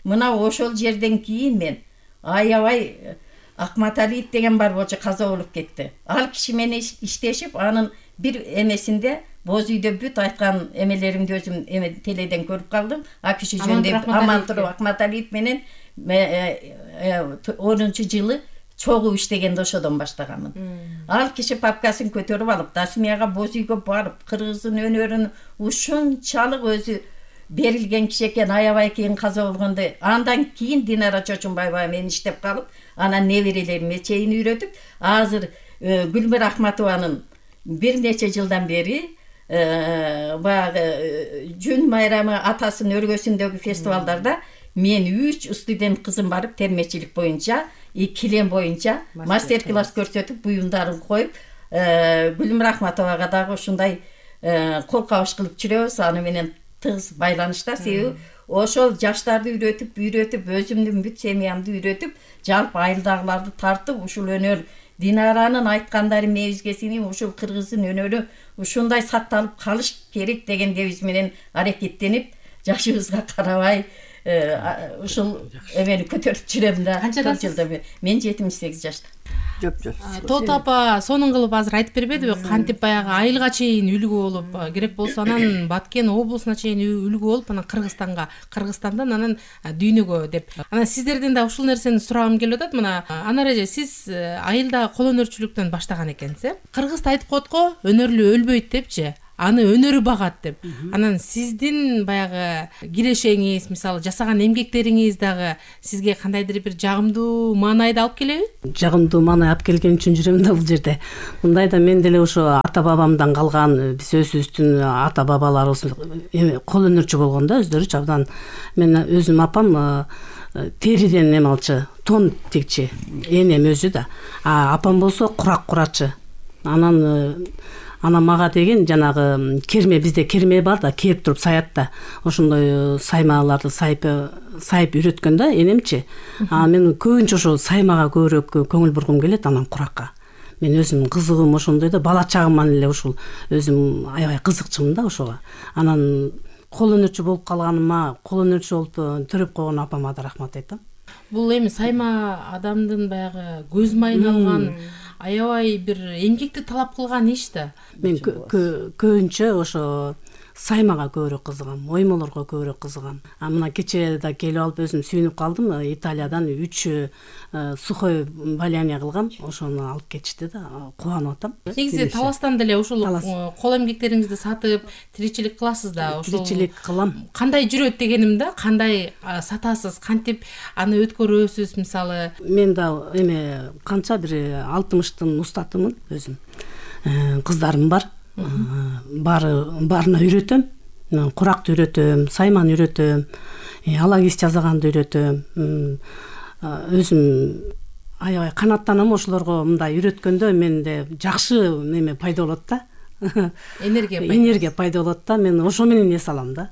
Мына ошол жерден кийин мен аябай Акматалиев деген бар болчу, каза болуп кетти. Ал киши менен иштешип, анын бир эмесинде боз үйдө бүт айткан эмелеримди өзүм теледен көрүп калдым. А киши жөнүндө Амантуров Акматалиев менен 10-жылы чогуу иштегенде ошодон баштаганмын. Ал киши папкасын көтөрүп алып, Дасмияга боз үйгө барып, Кыргыздын өнөрүн ушунчалык өзү берилген киши экен, аябай кийин каза болгондо. Андан кийин Динара Чочунбаева менен иштеп калып, анан неберелериме чейин үйрөтүп, азыр Гүлмир Ахматованын бир нече жылдан бери баягы жүн майрамы атасынын өргөсүндөгү фестивалдарда мен 3 студент кызым барып, термечилик боюнча, килем боюнча мастер-класс көрсөтүп, буюмдарын коюп, Гүлмир Ахматовага дагы ушундай кол кабыш кылып жүрөбүз. Аны менен тыгыз байланышта, себеби ошол жаштарды үйрөтүп, өзүмдүн бүт семьямды үйрөтүп, жалпы айылдагыларды тартып, ушул өнөр Динаранын айткандары мебизге сиңип, ушул Кыргыздын өнөрү ушундай сакталып калыш керек деген дебиз менен аракеттенип, жашыбызга карабай ушул эмени көтөрүп жүрөм да. Канчадасыз? Мен 78 жашта. Жок. Тоот апа сонун кылып азыр айтып бербедиби, кантип баягы айылга чейин үлгү болуп, керек болсо анан Баткен облусуна чейин үлгү болуп, анан Кыргызстандан анан дүйнөгө деп. Анан сиздерден да ушул нерсени сурагым келип атат. Мына Анар эже, сиз айылда кол өнөрчүлүктөн баштаган экенсиз. Кыргызда айтып коет го, өнөрлүү өлбөйт депчи. Аны өнөрү багат деп. Анан сиздин баягы кирешеңиз, мисалы жасаган эмгектериңиз дагы сизге кандайдыр бир жагымдуу маанайды алып келеби? Жагымдуу маанай алып келген үчүн жүрөм да бул жерде. Мындай да мен деле ошо ата бабамдан калган, биз өзүбүздүн ата бабаларыбыз кол өнөрчү болгон да, өздөрүчү абдан. Мен өзүм апам териден эме алчы, тон текчи, энем өзү да. Апам болсо курак курачы. Анан мага деген жанагы керме, бизде керме бар да, керип туруп саят да. Ошондой саймаларды сайып үйрөткөн да энемчи. Мен көбүнчө ошо саймага көбүрөөк көңүл бургум келет, анан куракка. Мен өзүм кызыгым ошондой да, бала чагыман эле ушул өзүм аябай кызыкчымын да ошого. Анан кол өнөрчү болуп калганыма, кол өнөрчү болуп төрөп койгон апама да рахмат айтам. Бул эми сайма адамдын баягы көз майын алган, аябай бир эмгекти талап кылган иш да. Мен көбүнчө ошо саймага көбүрөөк кызыгам, оймолорго көбүрөөк кызыгам. Мына кечээ да келип алып өзүм сүйүнүп калдым. Италиядан 3 сухой валяние кылгам, ошону алып кетишти да, кубанып атам. Негизи таластан деле ушул кол эмгектериңизди сатып тиричилик кыласыз да. Ошол Тиричилик кылам. Кандай жүрөт дегеним да, кандай сатасыз, кантип аны өткөрөсүз мисалы? Мен да эме канча бир 60тын устатымын өзүм. Кыздарым бар. Баарына үйрөтөм. Куракты үйрөтөм, сайманы үйрөтөм, алагис жасаганды үйрөтөм. Өзүм аябай канаттанам ошолорго. Мындай үйрөткөндө менде жакшы эме пайда болот да. Энергия пайда болот да. Мен ошо менен эс алам да.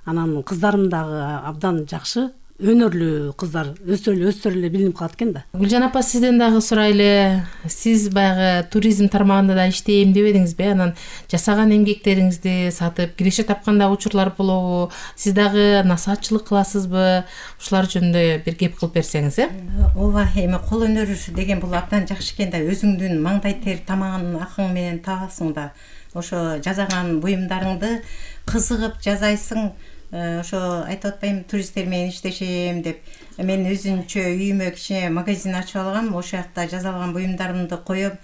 Анан кыздарым дагы абдан жакшы, өнөрлүү кыздар, өздөрү эле билинип калат экен да. Гүлжан апа, сизден дагы сурайлы. Сиз баягы туризм тармагында да иштейм дебедиңизби? Анан жасаган эмгектериңизди сатып киреше тапкан дагы учурлар болобу? Сиз дагы насаатчылык кыласызбы? Ушулар жөнүндө бир кеп кылып берсеңиз, Ооба, эми кол өнөрү деген бул абдан жакшы экен да. Өзүңдүн маңдай тер тамагын акың менен табасың да. Ошо жасаган буюмдарыңды кызыгып жасайсың. Ошо айтып атпаймынбы, туристтер менен иштешем деп. Мен өзүнчө үйүмө кичине магазин ачып алгам. Ошол жакта жасалган буюмдарымды коём.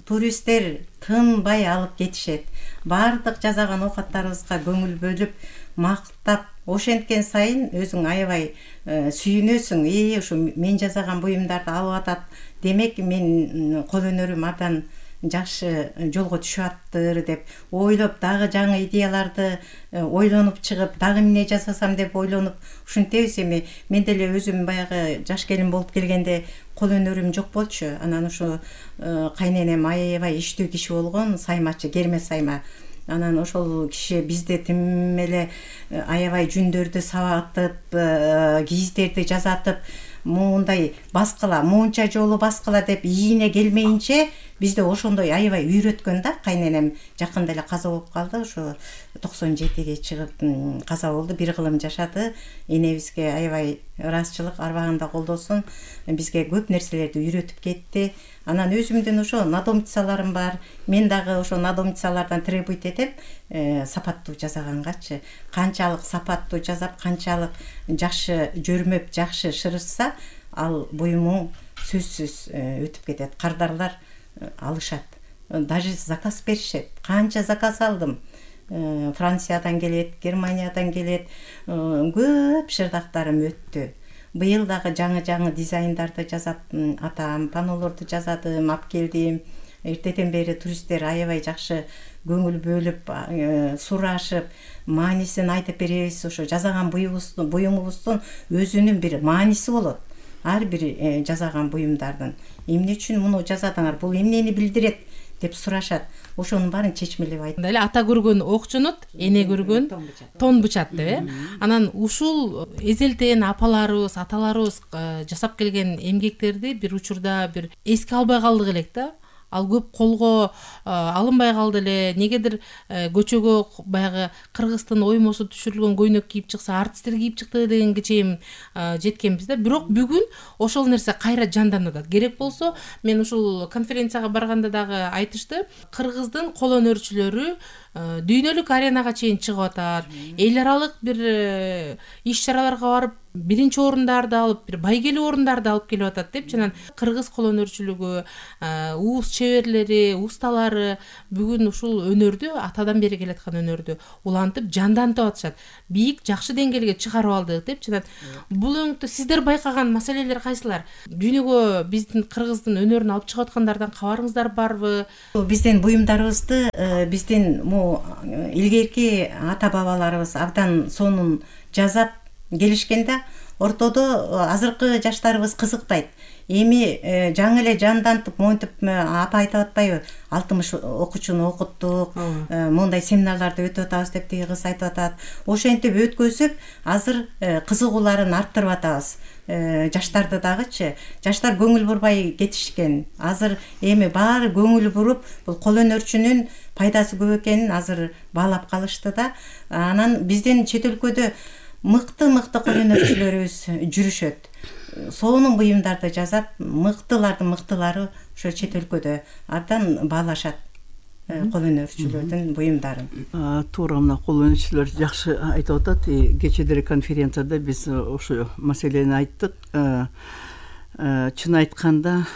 Туристтер тынбай алып кетишет. Баардык жасаган оокаттарыбызга көңүл бөлүп, мактап, ошенткен сайын өзүң аябай сүйүнөсүң. Ушу мен жасаган буюмдарды алып атат. Демек мен кол өнөрүм абдан жакшы жолго түшүп аттыр деп ойлоп, дагы жаңы идеяларды ойлонуп чыгып, дагы эмне жасасам деп ойлонуп ушинтебиз. Эми мен деле өзүм баягы жаш келин болуп келгенде кол өнөрүм жок болчу. Анан ушу кайненем аябай иштүү киши болгон, саймачы, керме сайма. Анан ошол киши бизде тим эле аябай жүндөрдү сабатып, кийиздерди жасатып, мындай баскыла, муунча жолу баскыла деп ийине келмейинче бизде ошондой аябай үйрөткөн да. Кайненем жакында эле каза болуп калды, ошо 97ге чыгып каза болду. Бир кылым жашады. Энебизге аябай ыраазычылык, арбагында колдосун. Бизге көп нерселерди үйрөтүп кетти. Анан өзүмдүн ошо надомницаларым бар. Мен дагы ошо надомницалардан требуйт этем, сапаттуу жасагангачы. Канчалык сапаттуу жасап, канчалык жакшы жөрмөп, жакшы шырышса, ал буюмуң сөзсүз өтүп кетет. Кардарлар алышат. Даже заказ беришет. Канча заказ алдым. Франциядан келет, Германиядан келет. Көп шырдактарым өттү. Быйыл дагы жаңы дизайндарды жасап, атам панолорду жасадым, алып келдим. Эртеден бери туристтер аябай жакшы көңүл бөлүп, сурашып, маанисин айтып беребиз. Ошо жасаган буюмубуздун өзүнүн бир мааниси болот. Ар бир жасаган буюмдардын эмне үчүн муну жасадыңар, бул эмнени билдирет деп сурашат. Ошонун баарын чечмелеп айтып. Эле ата көргөн ок жонот, эне көргөн тон бычат деп. Анан ушул эзелтен апаларыбыз, аталарыбыз жасап келген эмгектерди бир учурда бир эске албай калдык элек да. ал көп колго алынбай калды эле. Негедир көчөгө баягы Кыргыздын оймосу түшүрүлгөн көйнөк кийип чыкса, артисттер кийип чыкты дегенге чейин жеткенбиз да. Бирок бүгүн ошол нерсе кайра жанданып атат. Керек болсо, мен ушул конференцияга барганда дагы айтышты, Кыргыздын кол өнөрчүлөрү дүйнөлүк аренага чейин чыгып атат. Эл аралык бир иш-чараларга барып, биринчи орундарды алып, бир байгелүү орундарды алып келип атат деп, жана кыргыз кол өнөрчүлүгү, уус чеберлери, усталары бүгүн ушул өнөрдү, атадан бери келаткан өнөрдү улантып, жандантып атышат. Бийик, жакшы деңгээлге чыгарып алдык деп, жана бул өңүттө сиздер байкаган маселелер кайсылар? Дүйнөгө биздин Кыргыздын өнөрүн алып чыгып аткандардан кабарыңыздар барбы? Биздин буюмдарыбызды биздин илгерки ата бабаларыбыз абдан сонун жасап келишкенде, ортодо азыркы жаштарыбыз кызыктайт. Эми жаңы эле жандантып, монтип, апа айтып атпайбы, 60 окуучуну окуттук, мондай семинарларды өтүп атабыз деп тиги кыз айтып атат. Ошентип өткөзүп, азыр кызыгууларын арттырып атабыз. Жаштарды дагычы, жаштар көңүл бурбай кетишкен. Азыр эми баары көңүл буруп, бул кол өнөрчүнүн пайдасы көп экенин азыр баалап калышты да. Анан биздин чет өлкөдө мыкты кол өнөрчүлөрүбүз жүрүшөт. Сонун буюмдарды жасап, мыктылардын мыктылары ошо чет өлкөдө абдан баалашат кол өнөрчүлөрдүн буюмдарын. Туура, мына кол өнөрчүлөр жакшы айтып атат. Кечедеги конференцияда биз ошо маселени айттык. Чын айтканда,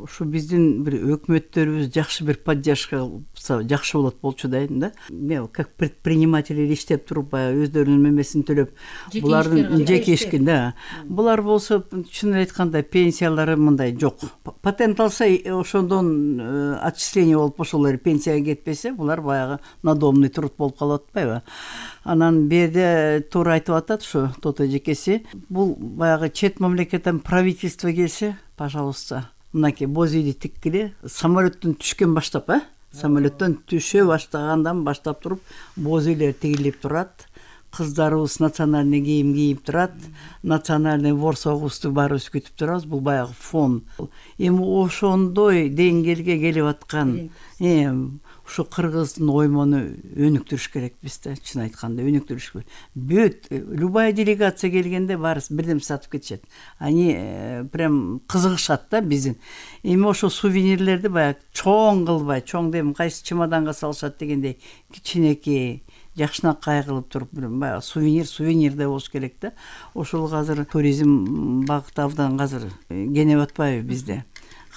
ушу биздин бир өкмөттөрүбүз жакшы бир поддержка кылса жакшы болот болчу дейм да. Мен как предприниматель иштеп туруп, өздөрүнүн мемесин төлөп, булардын жеке ишкин да. Булар болсо, чын айтканда, пенсиялары мындай жок. Патент алса, ошондон отчисление болуп ошолор пенсияга кетпесе, булар баягы надомный труд болуп калып атпайбы? Анан берде туура айтып атат ушу Тото эжекеси. Бул баягы чет мамлекеттен правительство келсе, пожалуйста, мынакей боз үйдү тиккиле, самолеттен түшкөн баштап, самолеттен түшө баштагандан баштап туруп, боз үйлөр тигилип турат. Кыздарыбыз национальный кийим кийип турат, национальный ворсогусту баарыбыз күтүп турабыз. Бул баягы фон. Эми ошондой деңгээлге келип аткан ушу кыргыздын оймону өнүктүрүш керекпиз да, чын айтканда өнүктүрүш керек. Бүт любая делегация келгенде баарыбыз бирдем сатып кетишет. Они прям кызыгышат да биздин. Эми ошо сувенирлерди баягы чоң кылбай, чоң дейм, кайсы чемоданга салышат дегендей, кичинекей, жакшынакай кылып туруп, баягы сувенирде болуш керек да. Ошол азыр туризм багыты абдан азыр кенеп атпайбы бизде?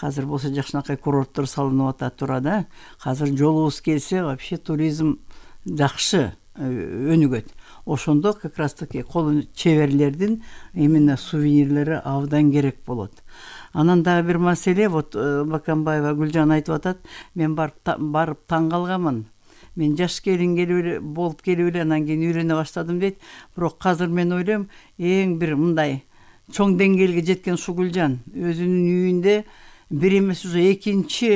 Азыр болсо жакшынакай курорттор салынып атат тура да. Азыр жолубуз келсе, вообще туризм жакшы өнүгөт. Ошондо как раз таки кол чеберлердин именно сувенирлери абдан керек болот. Анан дагы бир маселе, вот Баканбаева Гүлжан айтып атат, мен барып таң калганмын. Мен жаш келин болуп келип эле анан кийин үйрөнө баштадым дейт. Бирок азыр мен ойлойм, эң бир мындай чоң деңгээлге жеткен ушу Гүлжан өзүнүн үйүндө бир эмес уже экинчи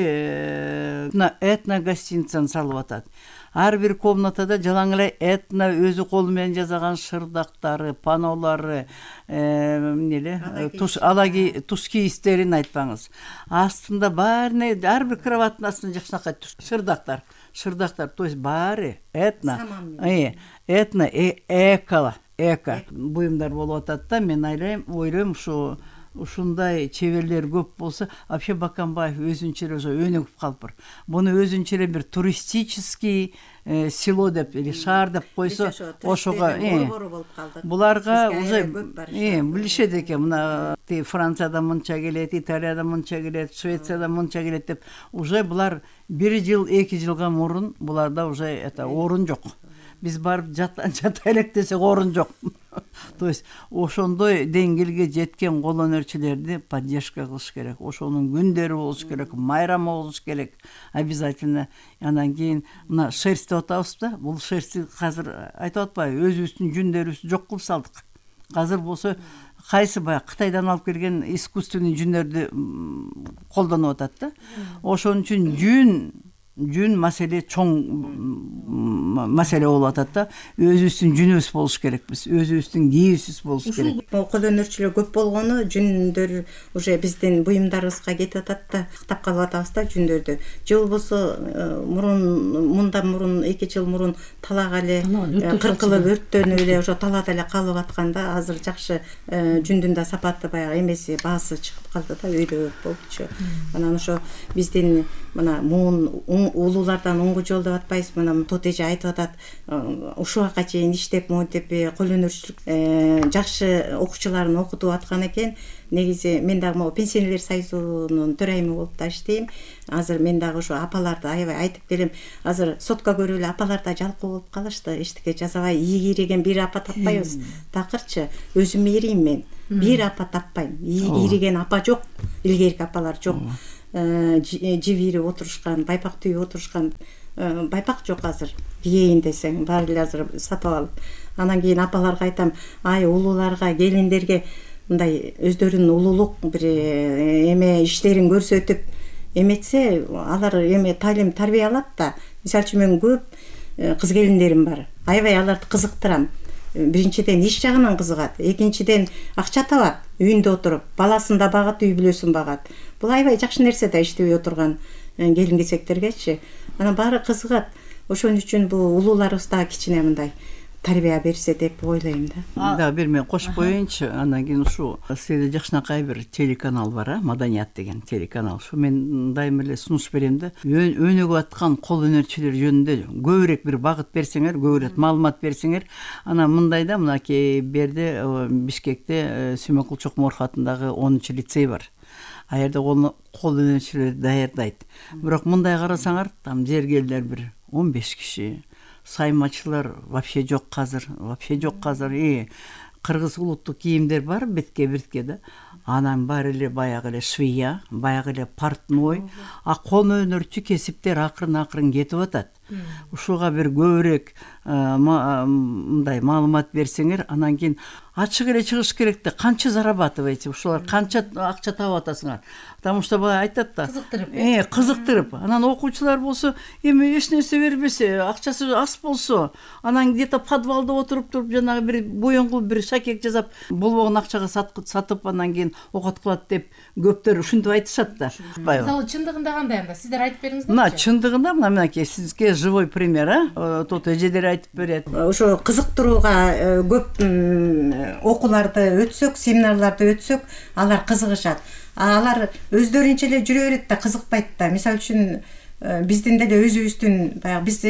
этно гостиницаны салып атат. Ар бир комнатада жалаң эле этно өзү колу менен жасаган шырдактары, панолары, алаги туш кийистерин айтпаңыз. Астында баарына, ар бир кроваттын астында жакшынакай шырдактар, то есть баары этно, эко буюмдар болуп атат да. Мен ойлойм, ушундай чеберлер көп болсо, вообще Баканбаев өзүнчө эле өнүгүп калыптыр. Буну өзүнчө эле бир туристический село деп или шаар деп койсо, ошого буларга уже билишет экен. Мына Франциядан мынча келет, Италиядан мынча келет, Швециядан мынча келет деп, уже булар 1 жыл, 2 жылга мурун буларда уже орун жок. Биз барып жата элек десек орун жок. То есть ошондой деңгээлге жеткен кол өнөрчүлөрдү поддержка кылыш керек. Ошонун күндөрү болуш керек, майрамы болуш керек обязательно. Анан кийин мына шерсть деп атабыз да. Бул шерстти азыр айтып атпайбы, өзүбүздүн жүндөрүбүздү жок кылып салдык. Азыр болсо кайсы баягы Кытайдан алып келген искусственный жүндөрдү колдонуп атат да. Ошон үчүн жүн маселе чоң маселе болуп атат да. Өзүбүздүн жүнүбүз болуш керекпиз, өзүбүздүн кийүүбүз болуш керек. Кол өнөрчүлөр көп болгону жүндөр уже биздин буюмдарыбызга кетип атат да, кактап калып атабыз да жүндөрдү. Же болбосо мындан мурун 2 жыл мурун талак эле кыркылып өрттөнүп эле ошо талаада эле калып атканда азыр жакшы жүндүн да сапаты баягы эмеси баасы чыгып калды да, өйдө болчу. Анан ошо биздин мына муун улуулардан унгу жол деп атпайбыз, мына Тот эже айтып атат, ушуга чейин иштеп монтип кол өнөрчүлүк жакшы окуучуларын окутуп аткан экен. Негизи мен дагы могу пенсионерлер союзунун төрайымы болуп да иштейм. Азыр мен дагы ошо апаларды аябай айтып келем. Азыр сотко көрүп эле апалар да жалкоо болуп калышты. Эчтеке жазабай ийги ийриген бир апа таппайбыз. Такырчы өзүм ийрийм мен. Бир апа таппайм. Ийриген апа жок. Илгерки апалар жок. Жип ийрип отурушкан, байпак түйүп отурушкан байпак жок азыр. Кийейин десең баары эле азыр сатып алып. Анан кийин апаларга айтам, ай улууларга, келиндерге мындай өздөрүнүн улуулук бир эме иштерин көрсөтүп эметсе, алар эме талим тарбия алат да. Мисалы үчүн мен көп кыз келиндерим бар. Аябай аларды кызыктырам. Биринчиден иш жагынан кызыгат, экинчиден акча табат, үйүндө отуруп, баласын да багат, үй бүлөсүн багат. Бул аябай жакшы нерсе да, иштебей отурган келин кесектергечи. Анан баары кызыгат. Ошон үчүн бул улууларыбыз да кичине мындай тарбия берсе деп ойлойм да. Да, бир мен кошуп коеюнчу. Андан кийин ушу сизде жакшынакай бир телеканал бар, Маданият деген телеканал. Ушу мен дайыма эле сунуш берем да. Өнүгүп аткан кол өнөрчүлөр жөнүндө көбүрөөк бир багыт берсеңер, көбүрөөк маалымат берсеңер, анан мындай да, мынакей берде Бишкекте Сүймөнкул Чокморов атындагы 10-лицей бар. А жерде кол өнөрчүлөр даярдайт. Бирок мындай карасаңар, там жергелдер бир 15 киши. Саймачылар вообще жок казыр, кыргыз улуттук кийимдер бар бетке да. Анан баары эле баягы эле швея, баягы эле портной, кол өнөрчү кесиптер акырын кетип атат. Ушуга бир көбүрөөк мындай маалымат берсеңер, анан кийин ачык эле чыгыш керек да, канча зарабатываете, ушулар канча акча таап атасыңар. Потому что бала айтат да, кызыктырып. Анан окуучулар болсо, эми эч нерсе бербесе, акчасы аз болсо, анан где-то подвалда отуруп туруп жанагы бир боёңгул бир шакек жасап, болбогон акчага сатып, анан кийин окот кылат деп көптөр ушинтип айтышат да. Мисалы чындыгында кандай анда? Сиздер айтып бериңиздерчи. Мына чындыгында мынакей сизге живой пример, Тот эжелер айтып берет. Ошо кызыктырууга көп окууларды өтсөк, семинарларды өтсөк, алар кызыгышат. Алар өздөрүнчө эле жүрө берет да, кызыкпайт да. Мисалы үчүн биздин деле өзүбүздүн баягы биз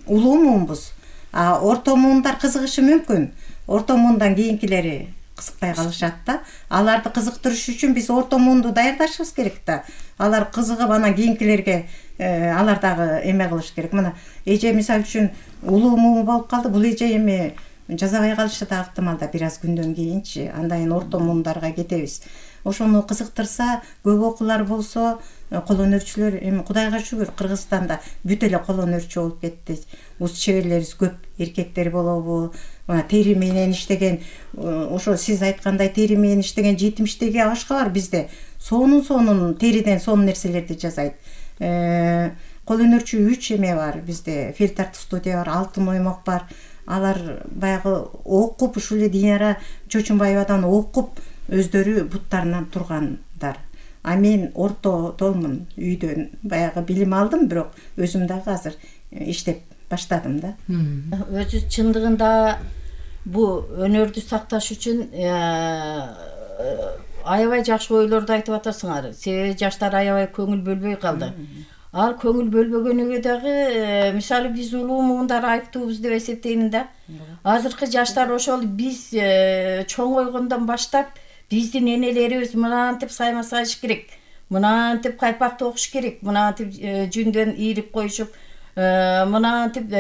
улуу муунбуз. Орто муундар кызыгышы мүмкүн. Орто муундан кийинкилери кызыкпай калышат да. Аларды кызыктырыш үчүн биз орто муунду даярдашыбыз керек да. Алар кызыгып, анан кийинкилерге алар дагы эме кылыш керек. Мына эже мисалы үчүн улуу муун болуп калды, бул эже эми жазабай калышы да ыктымал да, бир аз күндөн кийинчи. Андан орто муундарга кетебиз. Ошону кызыктырса, көп окуулар болсо, кол өнөрчүлөр эми Кудайга шүгүр, Кыргызстанда бүт эле кол өнөрчү болуп кетти. Уз чеберлерибиз көп, эркектер болобу, тери менен иштеген, ошо сиз айткандай тери менен иштеген 70-теги ашка бар бизде. Сонун териден сонун нерселерди жасайт. Кол өнөрчү 3 эме бар бизде. Фельтарт студия бар, Алтын оймок бар. Алар баягы окуп, ушул эле Динара Чочунбаевадан окуп, өздөрү буттарынан тургандар. Мен ортодомун, үйдөн баягы билим алдым, бирок өзүм дагы азыр иштеп баштадым да. Өзү чындыгында бу өнөрдү сакташ үчүн аябай жакшы ойлорду айтып атасыңар. Себеби жаштар аябай көңүл бөлбөй калды. Ал көңүл бөлбөгөнүгө дагы мисалы биз улуу муундар айыптуубуз деп эсептейм да. Азыркы жаштар ошол биз чоңойгондон баштап биздин энелерибиз мынантип сайма сайыш керек, мынантип кайпакты окуш керек, мынантип жүндөн ийрип коюшуп, мынантип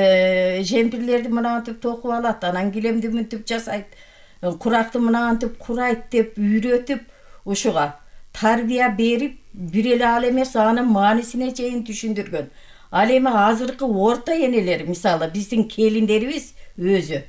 жемпирлерди мынантип токуп алат, анан килемди мынтип жасайт, куракты мынантип курайт деп үйрөтүп, ушуга тарбия берип, бир эле ал эмес, анын маанисине чейин түшүндүргөн. Ал эми азыркы орто энелер, мисалы биздин келиндерибиз өзү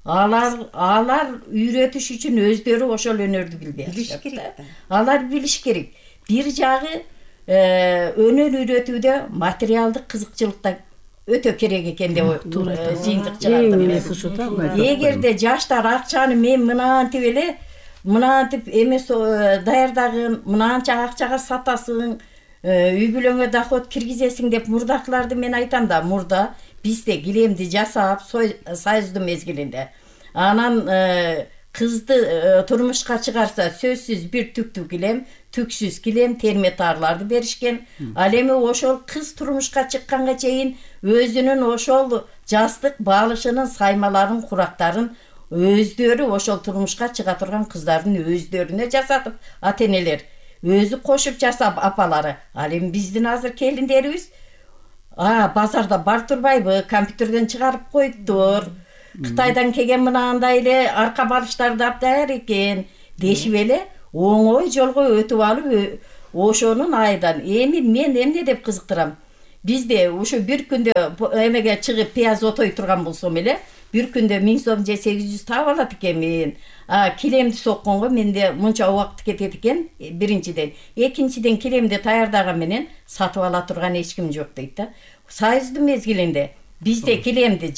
алар үйрөтүш үчүн өздөрү ошол өнөрдү билиш керек. Алар билиш керек. Бир жагы өнөр үйрөтүүдө материалдык кызыкчылык да өтө керек экен деп жыйынтык эң чыгардым. элеси ушу да. Эгерде жаштар акчаны мен мынантип эле мынантип эмес даярдагын, мынанча акчага сатасың, үй бүлөңө доход киргизесиң деп мурдакыларды мен айтам да, мурда бизде килемди жасап союздун мезгилинде анан кызды турмушка чыгарса сөзсүз бир түктүү килем, түксүз килем, терметарларды беришкен. Ал эми ошол кыз турмушка чыкканга чейин өзүнүн ошол жастык баалышынын саймаларын, курактарын өздөрү ошол турмушка чыга турган кыздардын өздөрүнө жасатып, ата-энелер өзү кошуп жасап апалары. Ал эми биздин азыр келиндерибиз базарда бар турбайбы, компьютерден чыгарып коюптур. Кытайдан келген мынандай эле арка балыштарды даяр экен дешип эле оңой жолго өтүп алып ошонун айдан. Эми мен эмне деп кызыктырам? Бизде ушу бир күндө эмеге чыгып пияз отой турган болсом эле, бир күндө 1000 сом же 800 таап алат экенмин. Килемди сокконго менде мынча убакыт кетет экен, биринчиден. Экинчиден килемди даярдаган менен сатып ала турган эч ким жок дейт да. Союздун мезгилинде бизде килемди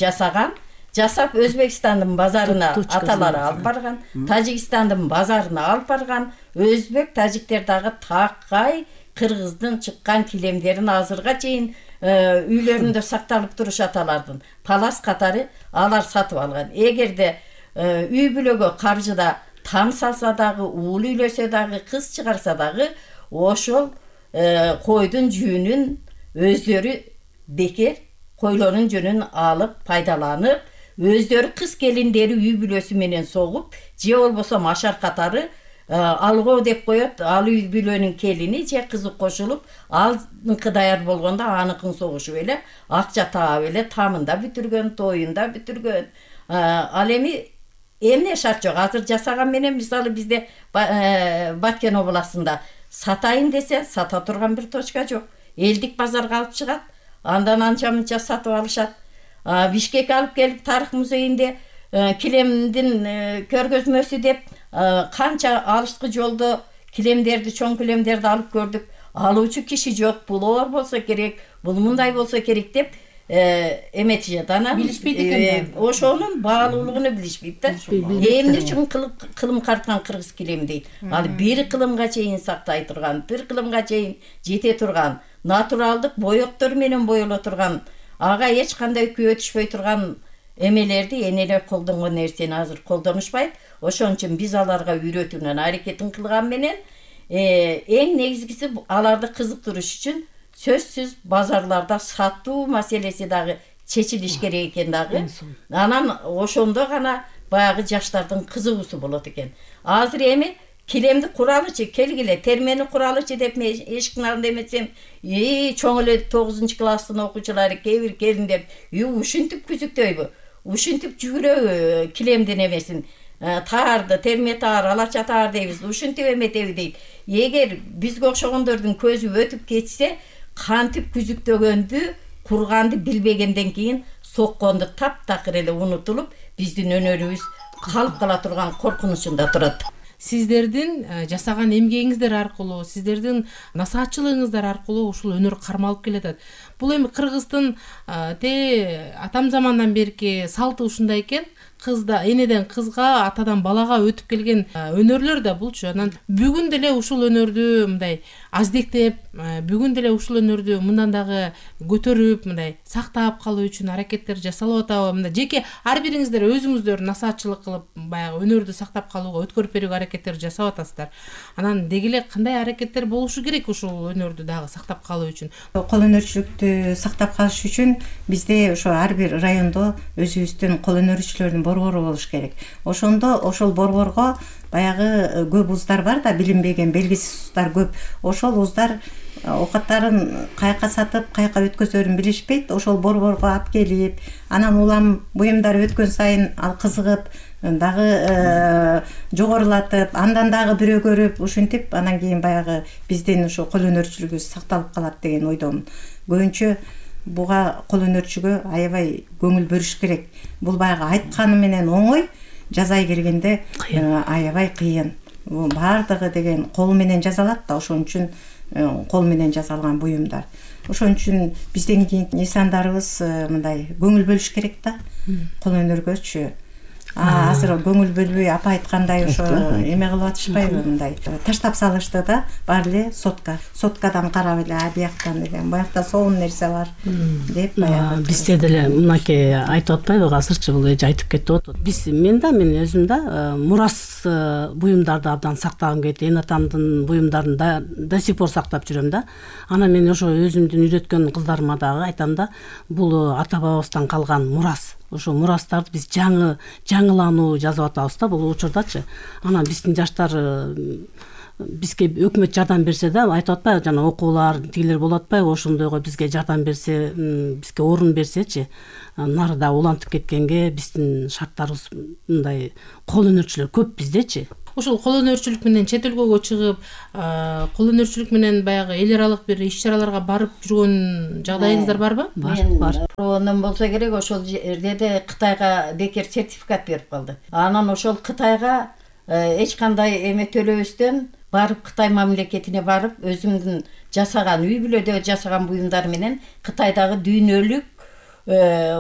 жасап Өзбекстандын базарына аталары алып барган, Тажикстандын базарына алып барган, өзбек, тажиктер дагы такай кыргыздын чыккан килемдерин азырга чейин үйлөрүндө сакталып турушат алардын. Палас катары алар сатып алган. Эгерде үй бүлөгө каржыда там салса дагы, уул үйлөсө дагы, кыз чыгарса дагы ошол койдун жүүнүн өздөрү бекер койлордун жөнүн алып пайдаланып, өздөрү кыз келиндери үй бүлөсү менен согуп, же болбосо машар катары алгоо деп коет, ал үй бүлөнүн келини же кызы кошулуп, алныкы даяр болгондо аныкын согушуп эле, акча таап эле тамында бүтүргөн, тоюнда бүтүргөн. Ал эми эмне шарт жок. Азыр жасаган менен мисалы бизде Баткен областында сатайын десе сата турган бир точка жок. Элдик базарга алып чыгат, андан анча-мынча сатып алышат. Бишкекке алып келип тарых музейинде килемдин көргөзмөсү деп канча алышкы жолдо килемдерди, чоң килемдерди алып көрдүк. Алуучу киши жок, бул болсо керек, бул мындай болсо керек деп эметишет. Анан билишпейт экен. Ошонун баалуулугун билишпейт да. Эмне үчүн кылым карткан кыргыз килем дейт. Ал бир кылымга чейин сактай турган, бир кылымга чейин жете турган, натуралдык боёктор менен боело турган, ага эч кандай күйөө түшпөй турган эмелерди энелер колдонгон нерсени азыр колдонушпайт. Ошон үчүн биз аларга үйрөтүүнүн аракетин кылган менен эң негизгиси аларды кызыктырыш үчүн сөзсүз базарларда сатуу маселеси дагы чечилиш керек экен дагы. Анан ошондо гана баягы жаштардын кызыгуусу болот экен. Азыр эми килемди куралычы, келгиле, термени куралычы деп мен эшиктин алдында эметсем, чоң эле 9-класстын окуучулары кээ бир келиндер, ушинтип күзүктөйбү, ушинтип жүгүрөбү килемдин эмесин, таарды, терме таар, алача таар дейбиз, ушинтип эметеби дейт. Эгер бизге окшогондордун көзү өтүп кетсе, кантип күзүктөгөндү, курганды билбегенден кийин сокконду таптакыр эле унутулуп, биздин өнөрүбүз калып кала турган коркунучунда турат. Сиздердин жасаган эмгегиңиздер аркылуу, сиздердин насаатчылыгыңыздар аркылуу ушул өнөр кармалып келатат. Бул эми Кыргыздын атам замандан берки салты ушундай экен. Кызда энеден кызга, атадан балага өтүп келген өнөрлөр да булчу. Анан бүгүн деле ушул өнөрдү мындай аздектеп, бүгүн деле ушул өнөрдү мындан дагы көтөрүп, мындай сактап калуу үчүн аракеттер жасалып атабы? Мындай жеке ар бириңиздер өзүңүздөр насаатчылык кылып, баягы өнөрдү сактап калууга, өткөрүп берүүгө аракеттер жасап атасыздар. Анан деги эле кандай аракеттер болушу керек ушул өнөрдү дагы сактап калуу үчүн? Кол өнөрчүлүктү сактап калыш үчүн бизде ошо ар бир райондо өзүбүздүн кол өнөрчүлөрдүн борбору болуш керек. Ошондо ошол борборго баягы көп уздар бар да, билинбеген белгисиз уздар көп. Ошол уздар оокаттарын каяка сатып, каяка өткөзөрүн билишпейт. Ошол борборго алып келип, анан улам буюмдар өткөн сайын ал кызыгып, дагы жогорулатып, андан дагы бирөө көрүп, ушинтип анан кийин баягы биздин ошо кол өнөрчүлүгүбүз сакталып калат деген ойдомун. Көбүнчө буга кол өнөрчүгө аябай көңүл бөлүш керек. Бул баягы айтканы менен оңой, жазай келгенде аябай кыйын. Баардыгы деген колу менен жазалат да, ошон үчүн кол менен жасалган буюмдар. Ошон үчүн бизден кийинки несандарыбыз мындай көңүл бөлүш керек да кол өнөргөчү. Азыр көңүл бөлбөй апа айткандай ошо эме кылып атышпайбы, мындай таштап салышты да, баары эле соткадан карап эле бияктан деген буякта сонун нерсе бар деп баягы. Бизде деле мынакей айтып атпайбы, азырчы бул эже айтып кетип атат. Мен өзүм да мурас буюмдарды абдан сактагым келет. Эне атамдын буюмдарын до сих пор сактап жүрөм да. Анан мен ошо өзүмдүн үйрөткөн кыздарыма дагы айтам да, бул ата бабабыздан калган мурас. Ошо мурастарды биз жаңылануу жазып атабыз да бул учурдачы. Анан биздин жаштар бизге өкмөт жардам берсе да, айтып атпайбы, жана окуулар тигилер болуп атпайбы, ошондойго бизге жардам берсе, бизге орун берсечи, нарыда улантып кеткенге биздин шарттарыбыз мындай кол өнөрчүлөр көп биздечи. Ушул кол өнөрчүлүк менен чет өлкөгө чыгып, кол өнөрчүлүк менен баягы эл аралык бир иш-чараларга барып жүргөн жагдайыңыздар барбы? Бар. Ондон болсо керек, ошол жерде Кытайга бекер сертификат берип калды. Анан ошол Кытайга эч кандай эме төлөбөстөн барып, Кытай мамлекетине барып, өзүмдүн жасаган үй бүлөдө жасаган буюмдар менен Кытайдагы дүйнөлүк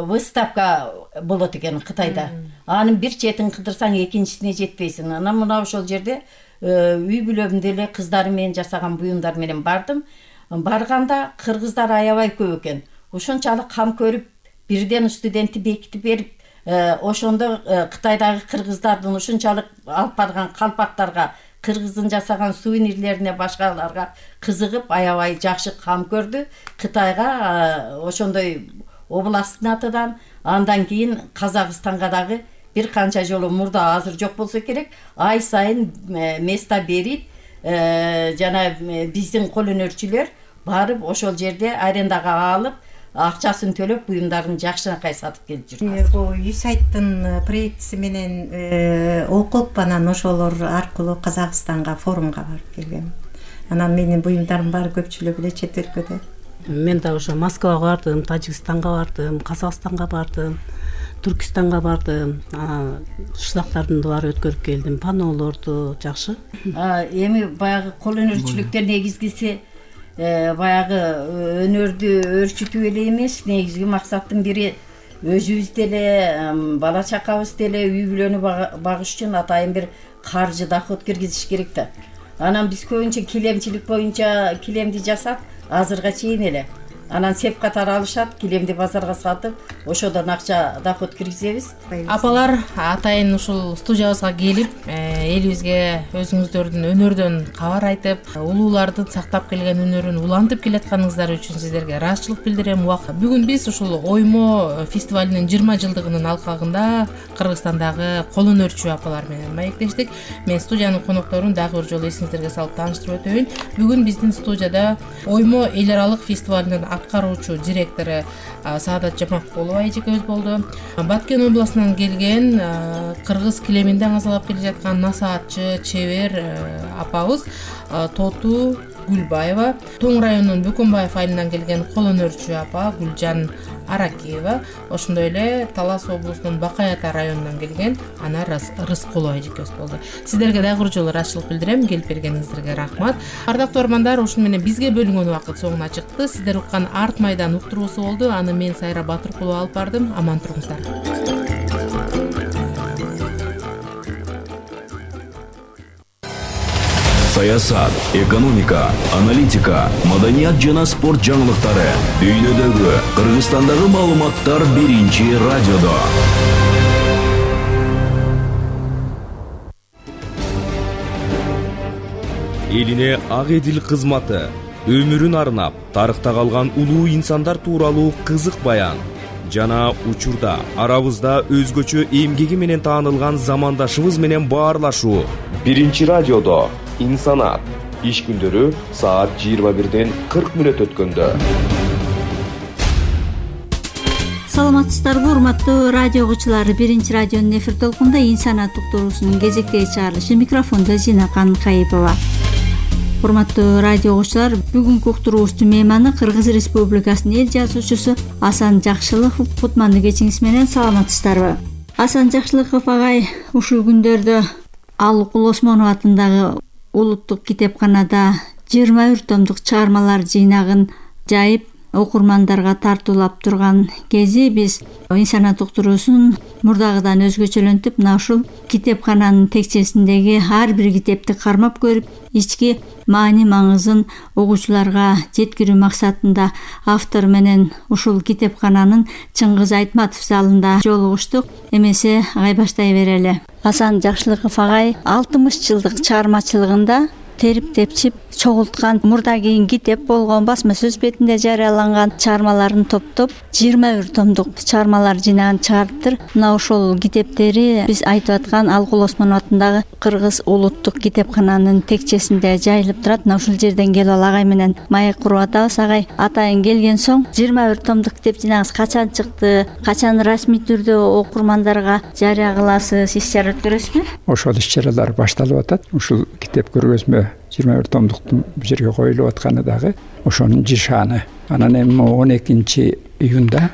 выставка болот экен Кытайда. Анын бир четин кыдырсаң экинчисине жетпейсиң. Анан мына ошол жерде үй бүлөм деле кыздарым менен жасаган буюмдар менен бардым. Барганда кыргыздар аябай көп экен. Ошончалык кам көрүп, бирден студентти бекитип берип, ошондо Кытайдагы кыргыздардын ушунчалык алып барган калпактарга, кыргыздын жасаган сувенирлерине, башкаларга кызыгып, аябай жакшы кам көрдү. Кытайга ошондой областтын атынан, андан кийин Казакстанга дагы бир канча жолу мурда, азыр жок болсо керек, ай сайын места берип, жана биздин кол өнөрчүлөр барып ошол жерде арендага алып, акчасын төлөп, буюмдарын жакшынакай сатып келип жүр. Бул USAID-тын проектиси менен окуп, анан ошолор аркылуу Казакстанга форумга барып келгем. Анан менин буюмдарым баары көпчүлүгү эле чет өлкөдө. Мен да ошо Москвага бардым, Тажикстанга бардым, Казакстанга бардым, Түркистанга бардым. Шылактардын баары өткөрүп келдим, панолорду жакшы. Эми баягы кол өнөрчүлүктөр негизгиси баягы өнөрдү өөрчүтүү эле эмес, негизги максаттын бири өзүбүз деле, бала чакабыз деле үй бүлөнү багыш үчүн атайын бир каржы доход киргизиш керек да. Анан биз көбүнчө килемчилик боюнча килемди жасап, азырга чейин эле. Анан сеп катары алышат, килемди базарга сатып, ошодон акча доход киргизебиз. Апалар атайын ушул студиябызга келип, элибизге өзүңүздөрдүн өнөрдөн кабар айтып, улуулардын сактап келген өнөрүн улантып келатканыңыздар үчүн сиздерге ыраазычылык билдирем. Бүгүн биз ушул Оймо фестивалинин 20 жылдыгынын алкагында Кыргызстандагы кол өнөрчү апалар менен маектештик. Мен студиянын конокторун дагы бир жолу эсиңиздерге салып тааныштырып өтөйүн. Бүгүн биздин студияда Оймо эл аралык фестивалинин аткаруучу директору Саадат Жамакулова эжекебиз болду. Баткен областынан келген, кыргыз килеминде аңазалап келе жаткан насаатчы, чебер апабыз Тоту Гүлбаева, Тоң районунун Бөкөнбаев айылынан келген кол өнөрчү апа Гүлжан Аракиева, ошондой эле Талас облусунун Бакай Ата районунан келген Анар Рыскулова эжекебиз болду. Сиздерге дагы бир жолу ыраазычылык билдирем, келип бергениңиздерге рахмат. Ардактуу армандар, ушуну менен бизге бөлүнгөн убакыт соңуна чыкты. Сиздер уккан Арт майдан уктуруусу болду. Аны мен Сайра Батыркулова алып бардым. Аман туруңуздар. Саясат, экономика, аналитика, маданият жана спорт жаңылыктары. Дүйнөдөгү, Кыргызстандагы маалыматтар биринчи радиодо. Элине ак эдил кызматы, өмүрүн арнап, тарыхта калган улуу инсандар тууралуу кызык баян. Жана учурда арабызда өзгөчө эмгеги менен таанылган замандашыбыз менен баарлашуу. Биринчи радиодо Инсанат. Иш күндөрү саат 21:40 өткөндө. Саламатсыздарбы, урматтуу радио угуучулар. Биринчи радионун эфир толкунда Инсанат уктуруусунун кезектеги чыгарылышы. Микрофондо Зинакан Кайыпова. Урматтуу радио угуучулар, бүгүнкү уктуруубуздун мейманы Кыргыз Республикасынын эл жазуучусу Асан Жакшылыков. Кутмандуу кечиңиз менен, саламатсыздарбы? Асан Жакшылыков агай ушул күндөрдө ал Кул Осмонов атындагы улуттук китепканада 21 томдук чыгармалар жыйнагын жайып окурмандарга тартуулап турган кези биз инсанат уктуруусун мурдагыдан өзгөчөлөнтүп, мына ушул китепкананын текчесиндеги ар бир китепти кармап көрүп, ички маани маңызын угуучуларга жеткирүү максатында автор менен ушул китепкананын Чыңгыз Айтматов залында жолугуштук. Эмесе агай баштай берели. Асан Жакшылыков агай 60 жылдык чыгармачылыгында терип тепчип чогулткан мурда кийин китеп болгон басма сөз бетинде жарыяланган чыгармаларын топтоп 21 томдук чыгармалар жыйнагын чыгарыптыр. Мына ошол китептери биз айтып аткан Алкул Осмонов атындагы Кыргыз улуттук китепкананын текчесинде жайылып турат. Мына ушул жерден келип ал агай менен маек куруп атабыз. Агай, атайын келген соң 21 томдук китеп жыйнагыңыз качан чыкты? Качан расмий түрдө окурмандарга жарыя кыласыз? Иш-чара өткөрөсүзбү? Ошол иш-чаралар башталып атат. Ушул китеп көргөзмө 21 томдуктун бул жерге коюлуп атканы дагы ошонун жишаны. Анан эми 12 июнда